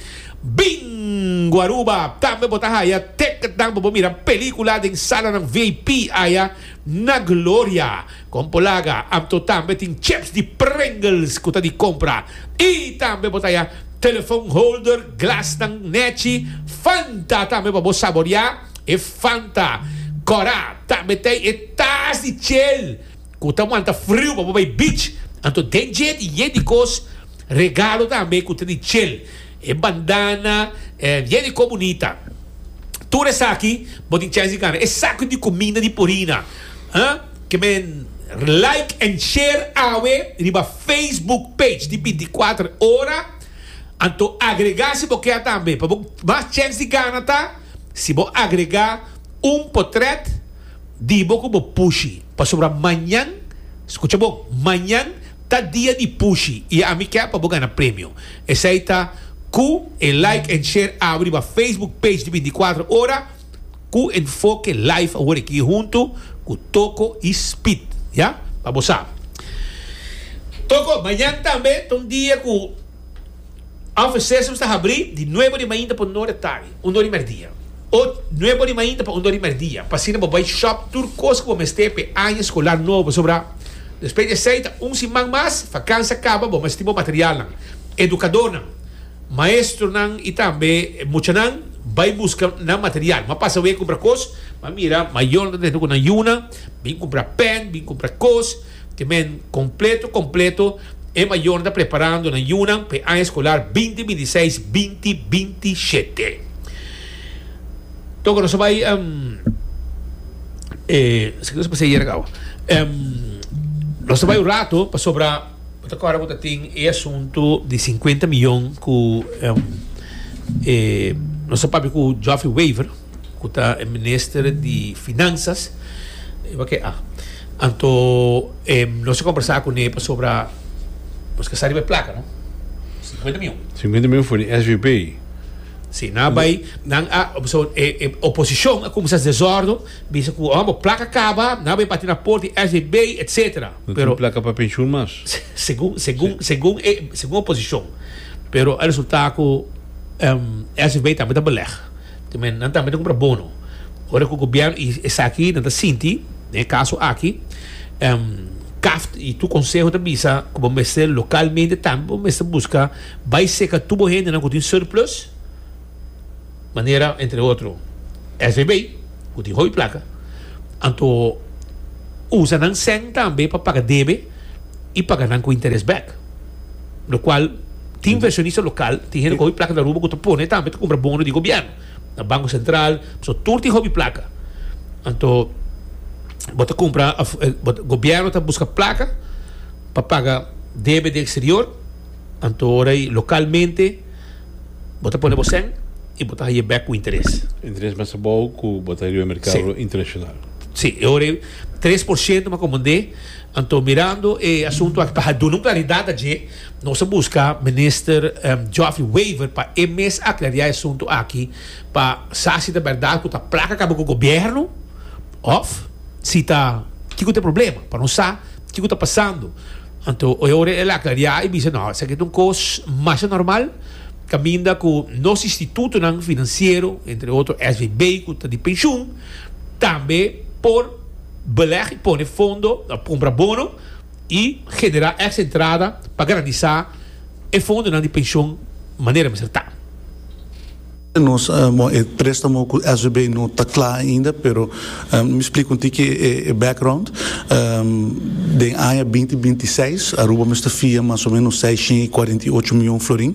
Bingo Aruba! Tambe bo ta haya ticketnan pa bo mira pelikula den salanan VIP aya na Gloria. Kon por laga, anto tambe tin chips di Pringles ku ta di kompra. I tambe bo ta haya telefon holder, glasnan nechi, Fanta tambe pa bo saboriá e Fanta kòrá. Tambe t'ei e tas di chel ku ta wanta friu pa bo bai beach. Anto den dje tin yen di kos regalo tambe ku ta di chel. E bandana, yen di kos bunita. Tur esaki bo tin chèns di gana. E saku di kuminda di Purina. Ke men like and share awe riba Facebook page di 24 ora. Anto agrega si bo kier tambe. Pa bo mas chèns di gana ta si bo agrega un potret di bo ku bo pushi. Pasobra mañan, skucha bon, mañan ta dia di pushi i ami kier pa bo gana premio. Esei ta ku e like and share awe riba Facebook page di 24 ora. Ku Enfoke Live awor aki hunto ku Toko i Speed ya pa bo sa. Toko, mañan tambe ta un dia ku Office Systems ta habri di nuebe di mainta pa un ora tardi, un ora di merdia. O nuebe di mainta pa un ora di merdia pa asina bo bai shop tur kos ku bo mester pa e aña eskolar nobo pasobra despues di esei ta un siman mas vakansia kaba bo mester tin bo materialnan. Edukadornan. Maestronan i tambe muchanan bai buska nan material. M'a pasa wei kumpra kos, m'a mira mayornan ta tene ku nan yunan, bin kumpra pen, bin kumpra kos, te men kompleto kompleto e mayornan ta preparando nan yunan pa e aña eskolar binti binti seis, binti binti shete. Toko nos a bai e esaki nos a pasa ayer kaba. Nos a bai un rato pasobra. Bo ta kòrda ku ta tin e asuntu di sinkuenta miyon ku e nos a papia ku Geoffrey Wever ku ta e minister di finansas e wak ah anto nos a kombersá kuné pasobra nos ke sa riba e plaka no sinkuenta miyon. Sinkuenta miyon for di SVB. Si nan a bai nan a so e oposishon a kuminsá desòrdu bisa ku oh bo plaka kaba nan a bai bati na porta di SVB etsetera. No tin plaka pa penshun mas. Segun, segun, segun e, segun oposishon. Pero a resultá ku SVB tambe ta beleg. Te men nan tambe ta kumpra bono. Ora ku gobièrnu i esaki nan ta sinti, den e kaso aki, CAFT y tur conseho ta bisa cu bo mester localmente tambe bo mester busca bay seca tur bo hendenan cu tin surplus, manera entre otro SVB cu tin hopi placa, anto usa nan cen tambe pa paga debe y paga nan cu interes bek. Locual tin inversionista local, tin hende cu hopi placa na Aruba cu ta pone tambe ta cumpra bono di gobierno na Banco Central, pasobra tur tin hopi placa. Anto bo ta cumpra of gobierno ta busca placa pa paga debe di exterior, anto ora y localmente bo ta pone bo cen y bo ta haye bek cu interes. Interes mas abou cu bo ta riba e mercado internacional. Si, e ora 3% mi a comprende. Anto mirando e asunto aki pa duna un claridad a dje, nos a busca Minister Geoffrey Wever pa e mes aclaria e asunto aki pa sa si ta berdad cu ta placa caba cu gobierno of si ta kico ta e problema, pa nos sa kico ta pasando. Anto e ora el a aclaria y bisa no, esaki ta un cos masha normal caminda cu nos institutonan financiero, entre otro SVB cu ta di pensioen, tambe por beleg y pone fondo, cumpra bono y genera extra entrada pa garantisa e fondonan di pensioen manera mester ta. Nos, bon, e préstamo ku SVB no ta kla ainda, pero mi splika un tiki e background. Den aña binti 26 Aruba mester fia mas o menos 648 mion florin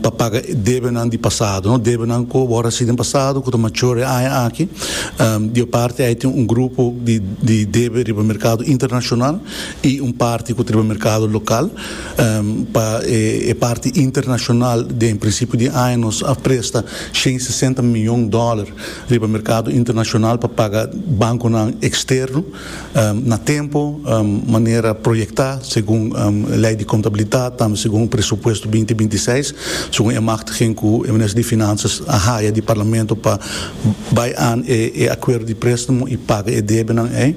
pa paga debenan di pasado, no? Debenan ku a wòrdu hasi den pasado ku ta mature e aña aki. Di e parti ei tin un grupo di di debe riba merkado internashonal i un parti ku ta riba merkado lokal. Pa e parti internashonal den prinsipio di aña nos a presta 160 mion dòler riba merkado internashonal pa paga bankonan eksterno na tempo manera proyektá segun lei di kontabilidat tambe segun presupuesto 2026 segun e machtiging ku e minister di Finansas a haya di parlamento pa bai aan e akuerdo di préstamo i paga e debenan ei.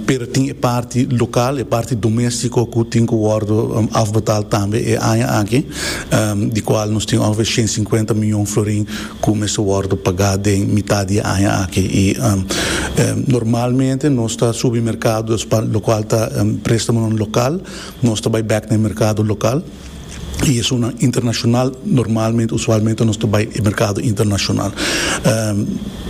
Pero tin e parti lokal, e parti doméstiko ku tin ku wòrdu afbetaal tambe e aña aki, di kual nos tin ongeveer 150 mion florin ku mester wòrdu pagá den mitad di e aña aki. I normalmente nos ta subi merkado, dus pa lokual ta préstamonan lokal, nos ta bai bèk na e merkado lokal. I esunnan internashonal, normalmente, usualmente nos ta bai e merkado internashonal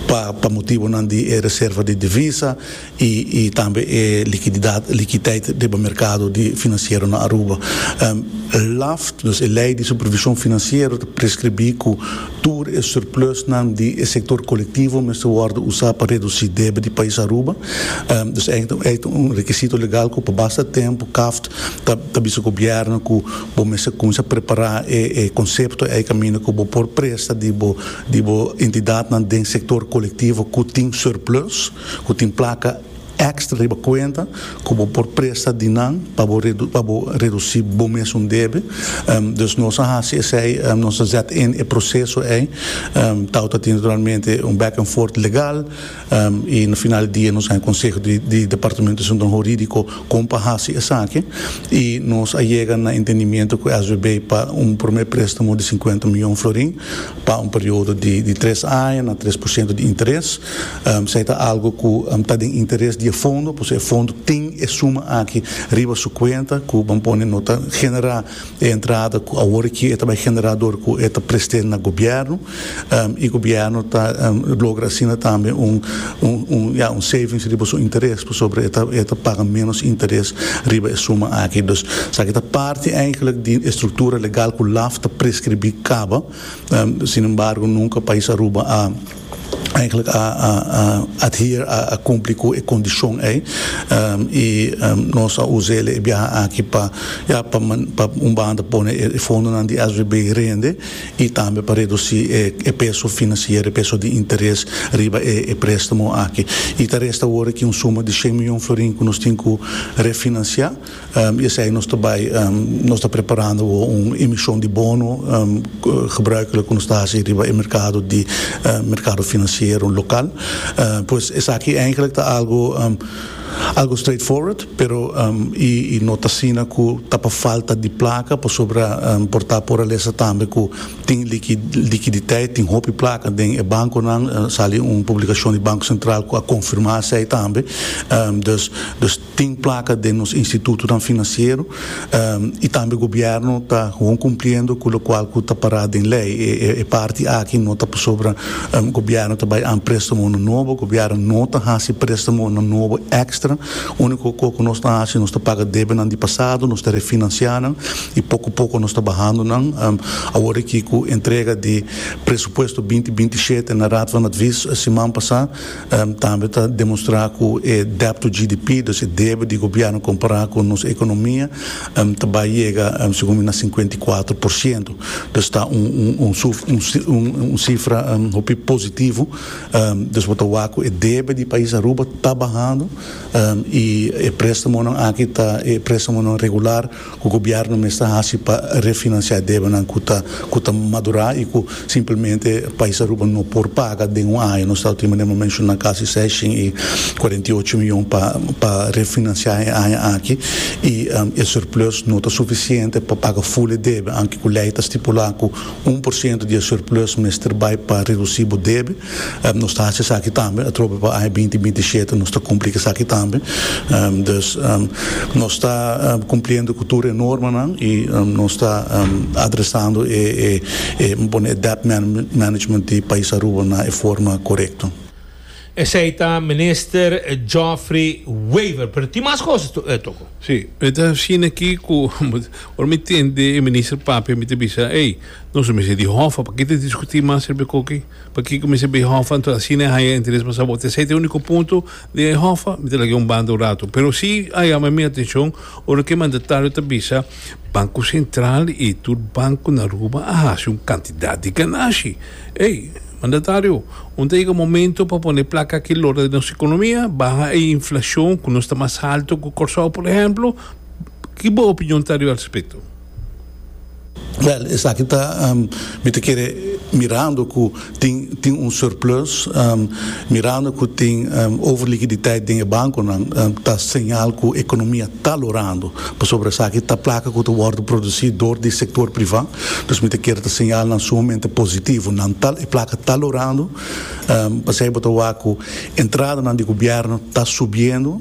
pa pa motibonan di e reserva di divisa i i tambe e likididat, likiteit riba merkado di finansiero na Aruba. LAft, dus e lei di supervishon finansiero ta preskribí ku tur e surplusnan di e sektor kolektivo mester wòrdu usá pa redusí debe di pais Aruba. Dus ei ta un rekisito legal ku pa basta tempu CAft Ta ta bisa gobierno cu bo mester cuminsa prepara e e concepto ey caminda cu bo por presta di bo di bo entidadnan den sector colectivo cu tin surplus, cu tin placa extra riba cuenta cu bo por presta di nan pa bo redu pa bo reduci bo mesun debe. Dus nos a haci esey, nos a zet in e proceso ey. Tawata tin naturalmente un back and forth legal. I na final di dia nos haña konseho di di Departamento di Asuntonan Hurídiko kon pa hasi esaki i nos a yega na entendimiento ku SVB pa un promé préstamo di sinkuenta mion florin pa un periodo di di tres aña na 3% di interes. Esei ta algu ku ta den interes di e fondo pasobra e fondo tin e suma aki riba su kuenta ku ban pone no ta generá E entrada ku awor aki e ta bai generá dor ku e ta prest'é na gobièrnu i gobièrnu ta logra asina tambe un un ya un savings riba su interes pasobra e ta e ta paga ménos interes riba e suma aki. Dus esaki ta parti eigentlik di e struktura legal ku laf ta preskribí kaba. Sinembargo nunka pais Aruba a. Eigenlijk a a a adhere a a cumpli cu e condicion ey y nos a usele e biaha aki pa ya pa pa un banda pone e fondonan di SVB rende y tambe pa reduci e e peso financiero e peso di interes riba e e prestamo aki y ta resta awor aki un suma di shen miyon florin cu nos tin cu refinancia. I esei nos ta bai, nos ta preparando awor un emishon di bono gebruikelijk ku nos ta hasi riba e merkado di merkado finansiero lokal. Pues esaki eigenlijk ta algu. algo straightforward, pero y no ta asina cu ta pa falta di placa, pasobra por ta por a lesa tambe cu tin liquiditeit, tin hopi placa den e banconan, sali un publicacion di Banco Central cu a confirma esey tambe, dus dus tin placa den nos institutonan financiero y tambe gobierno ta gewoon cumpliendo cu locual cu ta para den ley, e parti aki no ta pasobra gobierno ta bay aan prestamonan nobo, gobierno no ta haci prestamonan nobo extra, unico co cu nos ta haci nos ta paga debenan di pasado, nos ta refinancia nan y poco poco nos ta bahando nan, awor aki cu entrega di presupuesto binti 27 na Raad van Advies siman pasa. Tambe ta demostra cu e debt to GDP, dus e debe di gobierno compara cu nos economia, ta bay yega segun mi na 54%. Dus ta un cifra hopi positivo. Dus bo ta wak cu e debe di pais Aruba ta bahando y e prestamonan aki ta e prestamonan regular ku gobièrnu mester hasi pa refinansiá e debenan ku ta ku ta madurá i ku simplemente pais Aruba no por paga den un aña. Nos ta tin manera mi a menshoná kasi 648 mion pa pa refinansiá e aña aki i e surplus no ta sufisiente pa paga ful e debe anke ku lei ta stipulá ku 1% di e surplus mester bai pa redusí bo debe. Nos ta hasi esaki tambe, atrobe pa aña 2027 nos ta kumpli ku esaki tambe. Dus nos ta kumpliendo ku tur e normanan i nos ta adresando e e pone e debt management di pais Aruba na e forma korekto. Esei ta Minister Geoffrey Wever. Pero tin mas cosas Toko. Sí, e ta asina aki ku ora mi tende e minister papia mi ta bisa, ey, nos mester di Hoffa, paki ta diskutí mas riba e koki? Pakiko mester bay Hoffa? Anto asina e haya interes mas abou. Esei ta e úniko punto di e Hoffa, mi ta laga un banda un rato. Pero si a yama mi atenshon ora ku e mandatario ta bisa Banko Sentral i tur banko na Aruba a hasi un kantidat di ganashi. Ey, mandatario, un ta yega momento pa pone plaka aki lora den nos ekonomia, baha e inflashon ku nos ta mas halto ku Kòrsou por ehemplo. Ki bo opinion ta riba al respekto? Wèl, esaki ta, mi ta kere mirando ku tin tin un surplus, mirando ku tin overlikiditeit den e bankonan, ta señal ku ekonomia ta lorando, pasobra esaki ta plaka ku ta wòrdu produsí dor di sektor privá. Dus mi ta kere ta señalnan sumamente positivo. Nan ta, e plaka ta lorando, pasei bo ta wak ku entradanan di gobièrnu ta subiendo,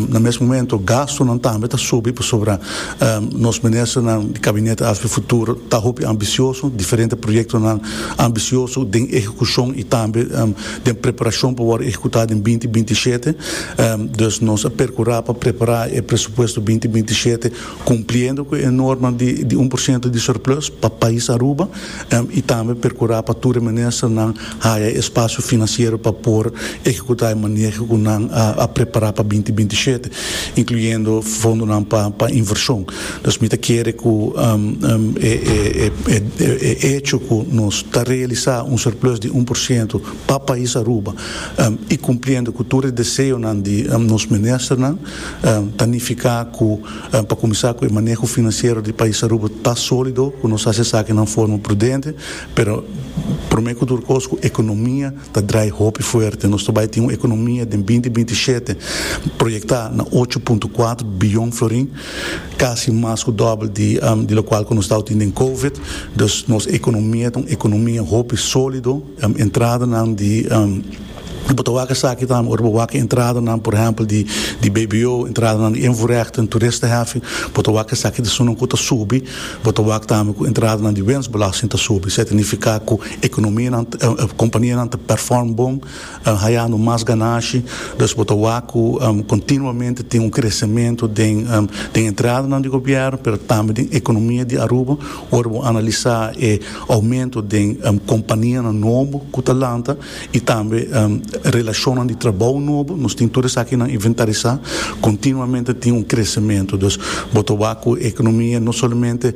na mes momento gastunan tambe ta subi pasobra nos ministernan di Kabinete Afp Futuro ta hopi ambisioso, diferente proyektonan ambisioso den ehekushon i tambe den preparashon pa wòrdu ehekutá den 2027. Dus nos a perkurá pa prepará e presupuesto 2027 Cumpliendo cu e norma di di 1% di surplus pa pais Aruba y tambe percura pa tur e ministernan haya e espacio financiero pa por ehecuta e maneho cu nan a prepara pa 2027, incluyendo fondonan pa pa inversion. Dus mi ta kere cu e e e e hecho cu nos ta realisa un surplus di 1% pa pais Aruba y cumpliendo cu tur e deseonan di nos ministernan ta nifica cu Pa kuminsá ku e maneho finansiero di pais Aruba ta sólido, ku nos hasi esaki na un forma prudente, pero promé ku tur kos ku ekonomia ta drai hopi fuerte. Nos ta bai tin un ekonomia den 2027 proyektá na 8.4 biyon florin, kasi mas ku dòbel di di lokual ku nos tawata tin den covid. Dus nos ekonomia ta un ekonomia hopi sólido, entradanan di. Bo ta wak esaki tambe ora bo wak e entradanan, por ehèmpel di di BBO, entradanan di invoerrechten, toeristenheffing, bo ta wak esaki ta esunnan ku ta subi. Bo ta wak tambe ku entradanan di winstbelasting ta subi. Esei ta nifiká ku ekonomianan, kompanianan ta pèrfòrm bon, hayando mas ganashi. Dus bo ta wak ku kontinuamente tin un kresementu den den entradanan di gobièrnu, pero tambe den ekonomia di Aruba. Ora bo analisá e oumento den kompanianan nobo ku ta lanta, i tambe relashonnan di trabou nobo, nos tin tur esakinan inventarisá, kontinuamente tin un kresementu. Dus bo ta wak ku ekonomia no solamente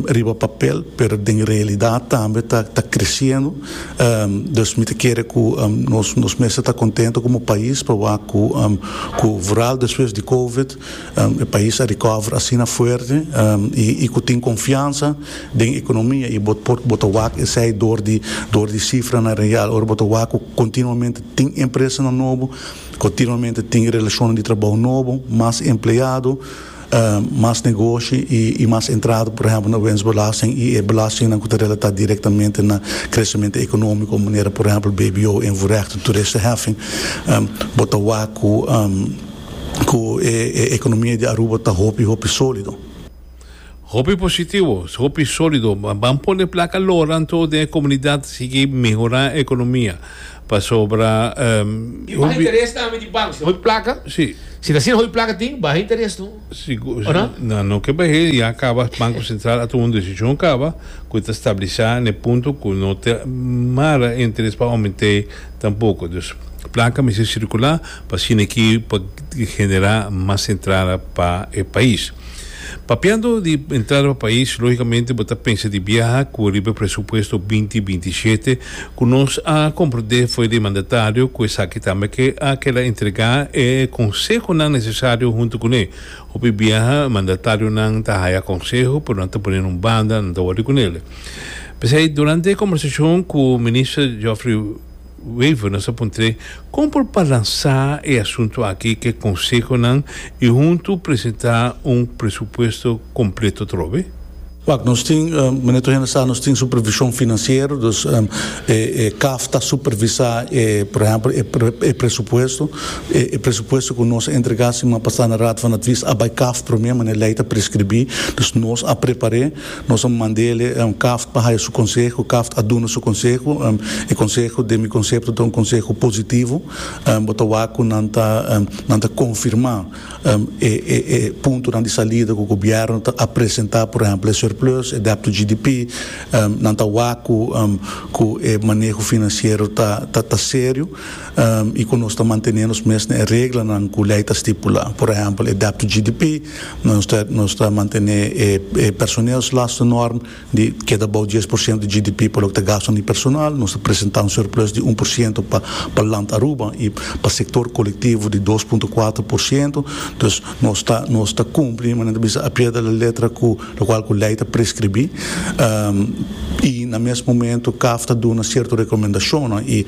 riba papel, pero den realidat tambe ta ta kresiendo. Dus mi ta kere ku nos nos mester ta kontento komo pais pa wak ku ku vooral despues di covid e pais a recover asina fuerte i ku tin konfiansa den ekonomia i bo por bo ta wak esei dor di dor di sifranan real. Ora bo ta wak ku kontinuamente. tin empresanan nobo, continuamente tin relacionnan di trabou nobo, mas empleado, mas negoshi y mas entrada, por ehempel na winstbelasting y e belastingnan cu ta relata directamente na crecemento economico manera por ehempel BBO, invoerrecht, toeristenheffing. Bo ta wak cu cu e economia di Aruba ta hopi hopi solido. Hopi positivo, hopi solido. Ban pone placa lora anto den e comunidad sigui mehora e economia. Pasobra I baha interes tambe di banco. Si hopi placa, Si. si ta asina hopi placa tin, baha interes no. Sigur, O no? No, no ke bah'é, ya caba Banco Central a tuma un decision caba cu ta stabilisa n'e punto cu no ta mara e interes pa aument'é tampoco. Dus placa mester circula pa asina aki pa genera mas entrada pa e pais. Papiando di entrada pa pais, logicamente bo ta pensa di biaha cu riba e presupuesto binti 27 cu nos a comprende fo'i di mandatario cu esaki tambe ke a keda entrega e consehonan necesario hunto cune. Hopi biaha mandatarionan ta haya conseho pero nan ta pone na un banda, nan ta wordi cunele. P'esey durante e conversacion cu Minister Geoffrey Wever nos a puntr'é kon por balansá e asuntu aki ku e konsehonan i huntu presentá un presupuesto kompleto atrobe. Wak, nos tin, manera tur hende sa, nos tin supervishon finansiero, dus e CAF ta supervisá e, por ehèmpel, e presupuesto. E presupuesto ku nos a entregá siman pasá na Raad van Advies a bai CAF promé, manera lei ta preskribí. Dus nos a prepar'é. Nos a mand'ele CAFT pa haya su conseho, CAFT a duna su conseho, e conseho den mi concepto ta un conseho positivo, bo ta wak cu nan ta nan ta confirma e e e puntonan di salida cu gobierno ta a presenta, por ehempel e surplus, e debt to GDP, nan ta wak cu cu e maneho financiero ta ta ta serio y cu nos ta mantene nos mes na e reglanan cu ley ta stipula, por ehempel e debt to GDP. Nos ta nos ta mantené e e personeelslastennorm di keda bou 10% di GDP pa loke ta gastonan di personal. Nos ta presentá un surplus di 1% pa pa Land Aruba i pa sektor kolektivo di 2.4%. Dus nos ta nos ta kumpli, manera ta bisa, a pie de la letra ku lokual ku lei ta preskribí. I na mes momento CAF ta duna sierto rekomendashonnan i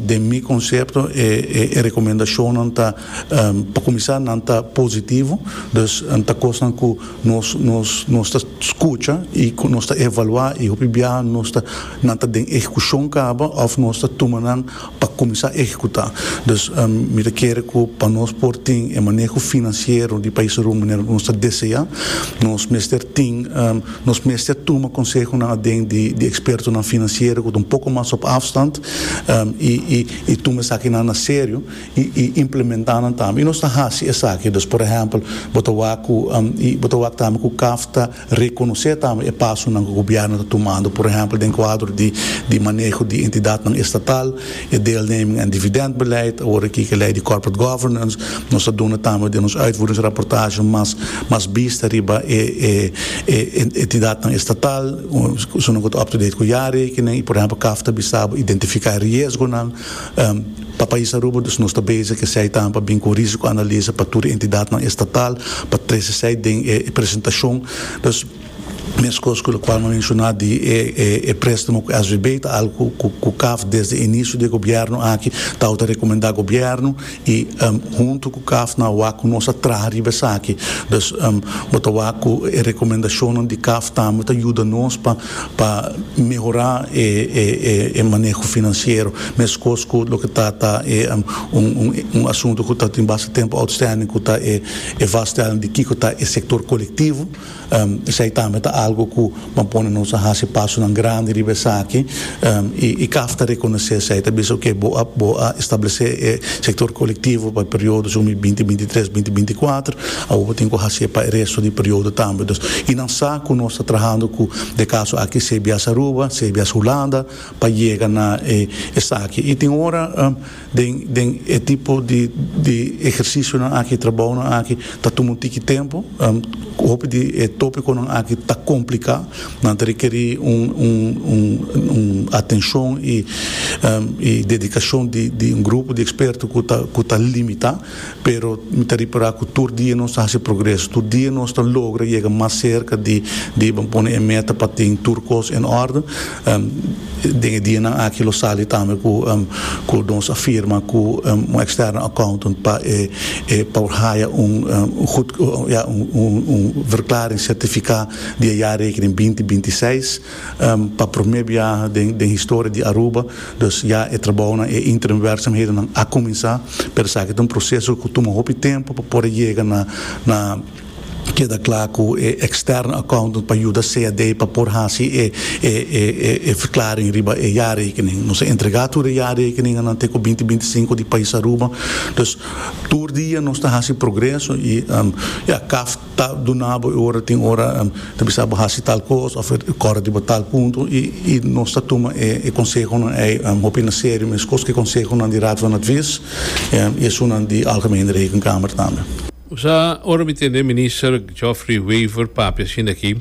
den mi konsepto e e rekomendashonnan ta Pa kuminsá nan ta positivo, dus ta kosnan ku nos nos nos ta skucha i ku nos ta evaluá i hopi biaha nos ta nan ta den ehekushon kaba òf nos ta tuma nan pa kuminsá ehekutá. Dus mi ta kere ku pa nos por tin e maneho finansiero di pais Aruba manera ku nos ta deseá, nos mester tin nos mester tuma konsehonan aden di di ekspertonan finansiero ku ta un poko mas op afstand i i i tuma esakinan na serio. I implementá nan tambe. I nos ta hasi esaki. Dus por ehèmpel, bo ta wak ku i bo ta wak tambe ku CAF ta rekonosé tambe e pasonan ku gobièrnu ta tumando. Por ehèmpel den kuadro di di maneho di entidatnan estatal, e deelneming en dividendbeleid, awor aki ku e lei di corporate governance. Nos ta duna tambe den nos uitvoeringsrapportage mas mas bista riba e e e entidatnan estatal, esunnan ku ta up to date ku jaarrekening. I por ehèmpel CAF ta bisa bo identifiká e riesgonan. Pa pais Aruba dus nos ta bezig esei tambe pa bin ku risico-analise pa tur e entidadnan estatal pa trese esei den e presentacion. Dus meskos ku lokual mi a menshoná di e e préstamo ku SVB ta algu ku ku CAF desde inicio di e gobièrnu aki tabata rekomendá gobièrnu i huntu ku CAF nan a wak ku nos a traha riba esaki. Dus bo ta wak ku e rekomendashonnan di CAF tambe ta yuda nos pa pa mehorá e e maneho finansiero, meskos ku loke ta ta e un un asuntu ku ta tin basta tempu outstanding ku ta e e vaststelling di kiko ta e sektor kolektivo, esei tambe ta algu ku ban pone nos a hasi pasonan grandi riba esaki i i CAF ta rekonosé esei, ta bisa oke bo a bo a establesé e sektor kolektivo pa e periodo 2023, 2024, awor bo tin ku hasié pa e resto di periodo tambe. Dus i nan sa ku nos ta trahando ku de kaso aki CBS Aruba, CBS Hulanda pa yega na e esaki. I tin ora den den e tipo di di ehersisionan aki, trabounan aki ta tuma un tiki tempu. Hopi di e topikonan aki ta. kompliká, nan ta rekerí un un un un atenshon i i dedikashon di di un grupo di eksperto ku ta ku ta limitá, pero mi ta ripará ku tur dia nos ta hasi progreso, tur dia nos ta logra yega mas serka di di bo pone e meta pa tin tur kos en orde. Den e dianan aki lo sali tambe ku ku nos a firma ku un externe accountant pa e e pa por haya un goed ya un un verklaring sertifiká di e jaarrekening binti binti seis pa promé biaha den den historia di Aruba. Dus ya e trabounan e interim werkzaamhedennan a kuminsá pero esaki ta un proseso ku tuma hopi tempu pa por a yega na na Keda kla ku e externe accountant pa yuda CAD pa por hasi e e verklaring riba e jaarrekening. Nos a entrega tur e jaarrekeningennan te ku binti 25 di pais Aruba. Dus tur dia nos ta hasi progreso i ya CAft ta duna bo e ora tin ora ta bisa bo hasi tal kos òf kòrda riba tal punto i i nos ta tuma e e konsehonan ei hopi na serio meskos ku e konsehonan di Raad van Advies i esunnan di Algemene Rekenkamer tambe. Sa ora mi tende Minister Geoffrey Wever papia asina aki,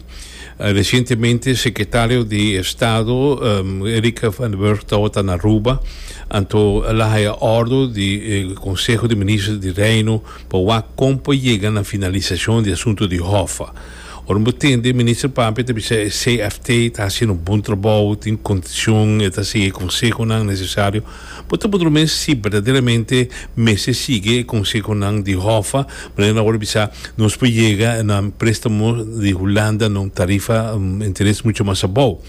recientemente Secretario di Estado Erica van den Burg tabata na Aruba, anto el a haya ordo di Conseho di Minister di Reino pa wak con por yega na finalisacion di asunto di Hoffa. Ora bo tende Minister papia ta bisa e CFT ta haciendo un bon trabou, tin condicion, e ta sigui e consehonan necesario. Bo ta puntra mes si berdaderamente mester sigui e konsehonan di Hoffa, manera nan wòrdu bisa, nos por yega na préstamo di Hulanda na un tarifa, un interes mucho mas abou.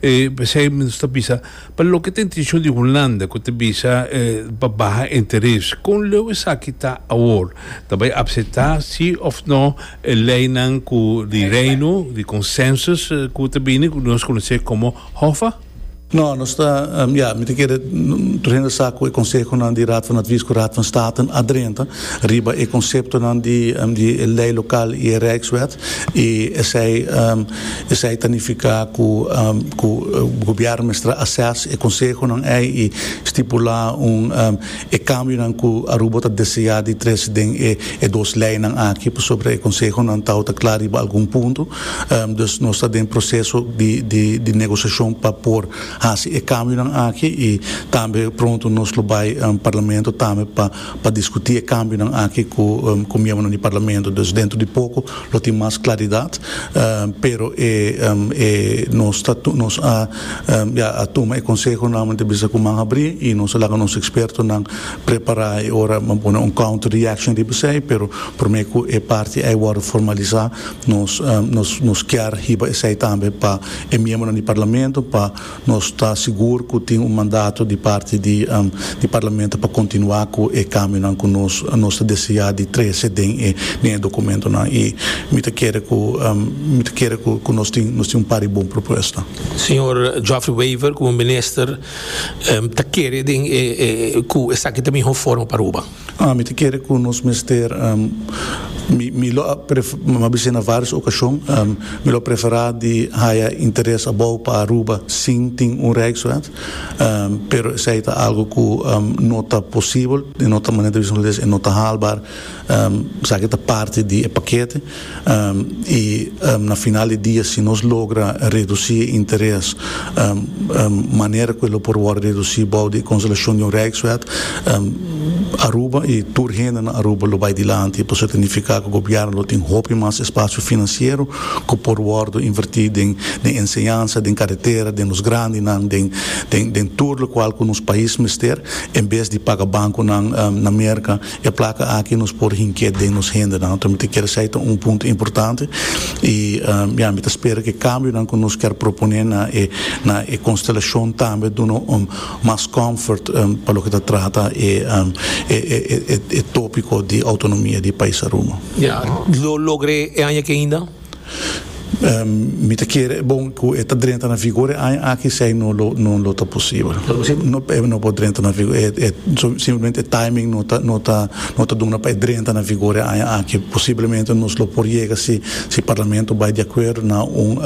P'esei nos ta bisa, pa loke ta intenshon di Hulanda ku ta bisa pa baha interes, kon leu esaki ta awor? Ta bai apseptá si òf no e leinan ku di Reino, di consensus ku ta bini, ku nos konosé komo Hoffa? No, nos ta, ya, mi ta kere tur hende sa ku e konsehonan di Raad van Advies ku Raad van State a drenta riba e konseptonan di di e lei lokal i e Rijkswet i esei esei ta nifiká ku ku gobièrnu mester a assess e konsehonan ei i stipulá un e kambionan ku Aruba ta deseá di trese den e e dos leinan aki pasobra e konsehonan tabata kla riba algun punto. Dus nos ta den proseso di di negosiashon pa por hasi e kambionan aki i tambe pronto nos lo bai parlamento tambe pa pa diskutí e kambionan aki ku ku miembronan di parlamento. Dus dentro di poko lo tin mas klaridat pero e e nos ta nos a ya a tuma e konsehonan mi ta bisa ku man habrí i nos a laga nos ekspertonan prepará e ora bo pone un counter reaction riba esei pero promé ku e parti ei wòrdu formalisá Nos nos nos kier hiba esei tambe pa e miembronan di Parlamento pa nos ta sigur ku tin un mandato di parti di di Parlamento pa kontinuá ku e kambionan ku nos nos ta deseá di trese den e den e dokumentonan i mi ta kere ku mi ta kere ku ku nos tin nos tin un par di bon propuesta. Señor Geoffrey Wever komo minister ta kere den e ku esaki ta mihó forma pa Aruba? Mi ta kere ku nos mester, mi mi lo a pref, mi a bis'é na vários okashon, mi lo a preferá di haya interes abou pa Aruba sin tin un Rijkswet, pero esei ta algu ku no ta posibel, e no ta manera di bisa hulandes, e no ta haalbaar, esaki ta parti di e pakete i na final di dia si nos logra redusí e interes manera ku e lo por wòrdu redusí bou di e konselashon di un Rijkswet, Aruba i tur hende na Aruba lo bai dilanti pasobra ta nifiká ku gobièrnu lo tin hopi mas espasio finansiero ku por wòrdu invertí den den enseñansa, den karetera, den nos grandinan, den den den tur lokual ku nos pais mester en bes di paga bankonan na Merka. E plaka aki nos por hink'é den nos hendenan. Anto mi ta kere esei ta un punto importante i ya mi ta spera ku e kambionan ku nos kier proponé na e na e konstelashon tambe duna un mas comfort pa loke ta trata e e e topiko di outonomia di pais Aruba. Ya, lo logr'é e aña aki ainda? Mi ta kere bon ku e ta drenta na vigor e aña aki esei no lo no lo ta posibel. No e no por drenta na vigor e e simplemente e timing no ta no ta no ta duna pa e drenta na vigor e aña aki. Posiblemente nos lo por yega si si parlamento bai di akuerdo na un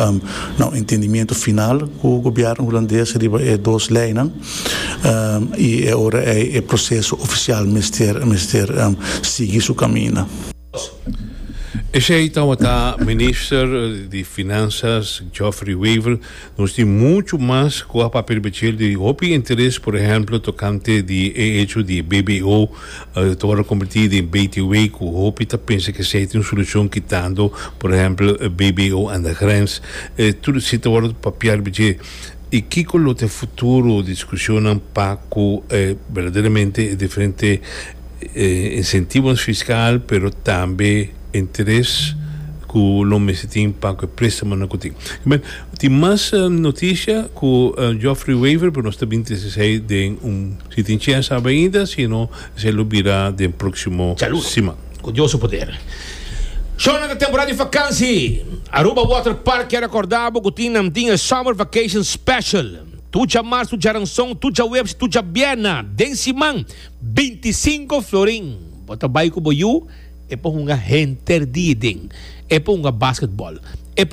na un entendimiento final ku gobièrnu hulandes riba e dos leinan i e ora ei e proseso ofisial mester mester sigui su kaminda. Esey tabata Minister di Finanzas Geoffrey Wever. Nos tin mucho mas cu a papia riba djel di hopi interes, por ehemplo tocante di e hecho di e BBO ta worde converti den BTW cu hopi ta pensa cu esey ta un solucion kitando por ehemplo BBO aan de grens. Tur esey ta worde papia riba dje. Y kico lo ta e futuro discusionnan pa cu berdaderamente e diferente Insentivonan fiskal pero tambe interes ku lo mester tin pa ku e prestamonan ku tin. Tin mas notisia ku Geoffrey Wever pero nos ta bin trese esei den un si tin chens awe ainda si no esei lo bira den proksimo siman. Ku Dios su poder. Shownan ta temporada di vakansi. Aruba Water Park kier rekorda bo ku tin nan tin e Summer Vacation Special. Tur djamars, tur djaranson, tur djaweps i tur djabièrna den siman. 25 florin. Bo ta bai ku bo yu, e por hunga henter dia den. E por hunga basketball. E por.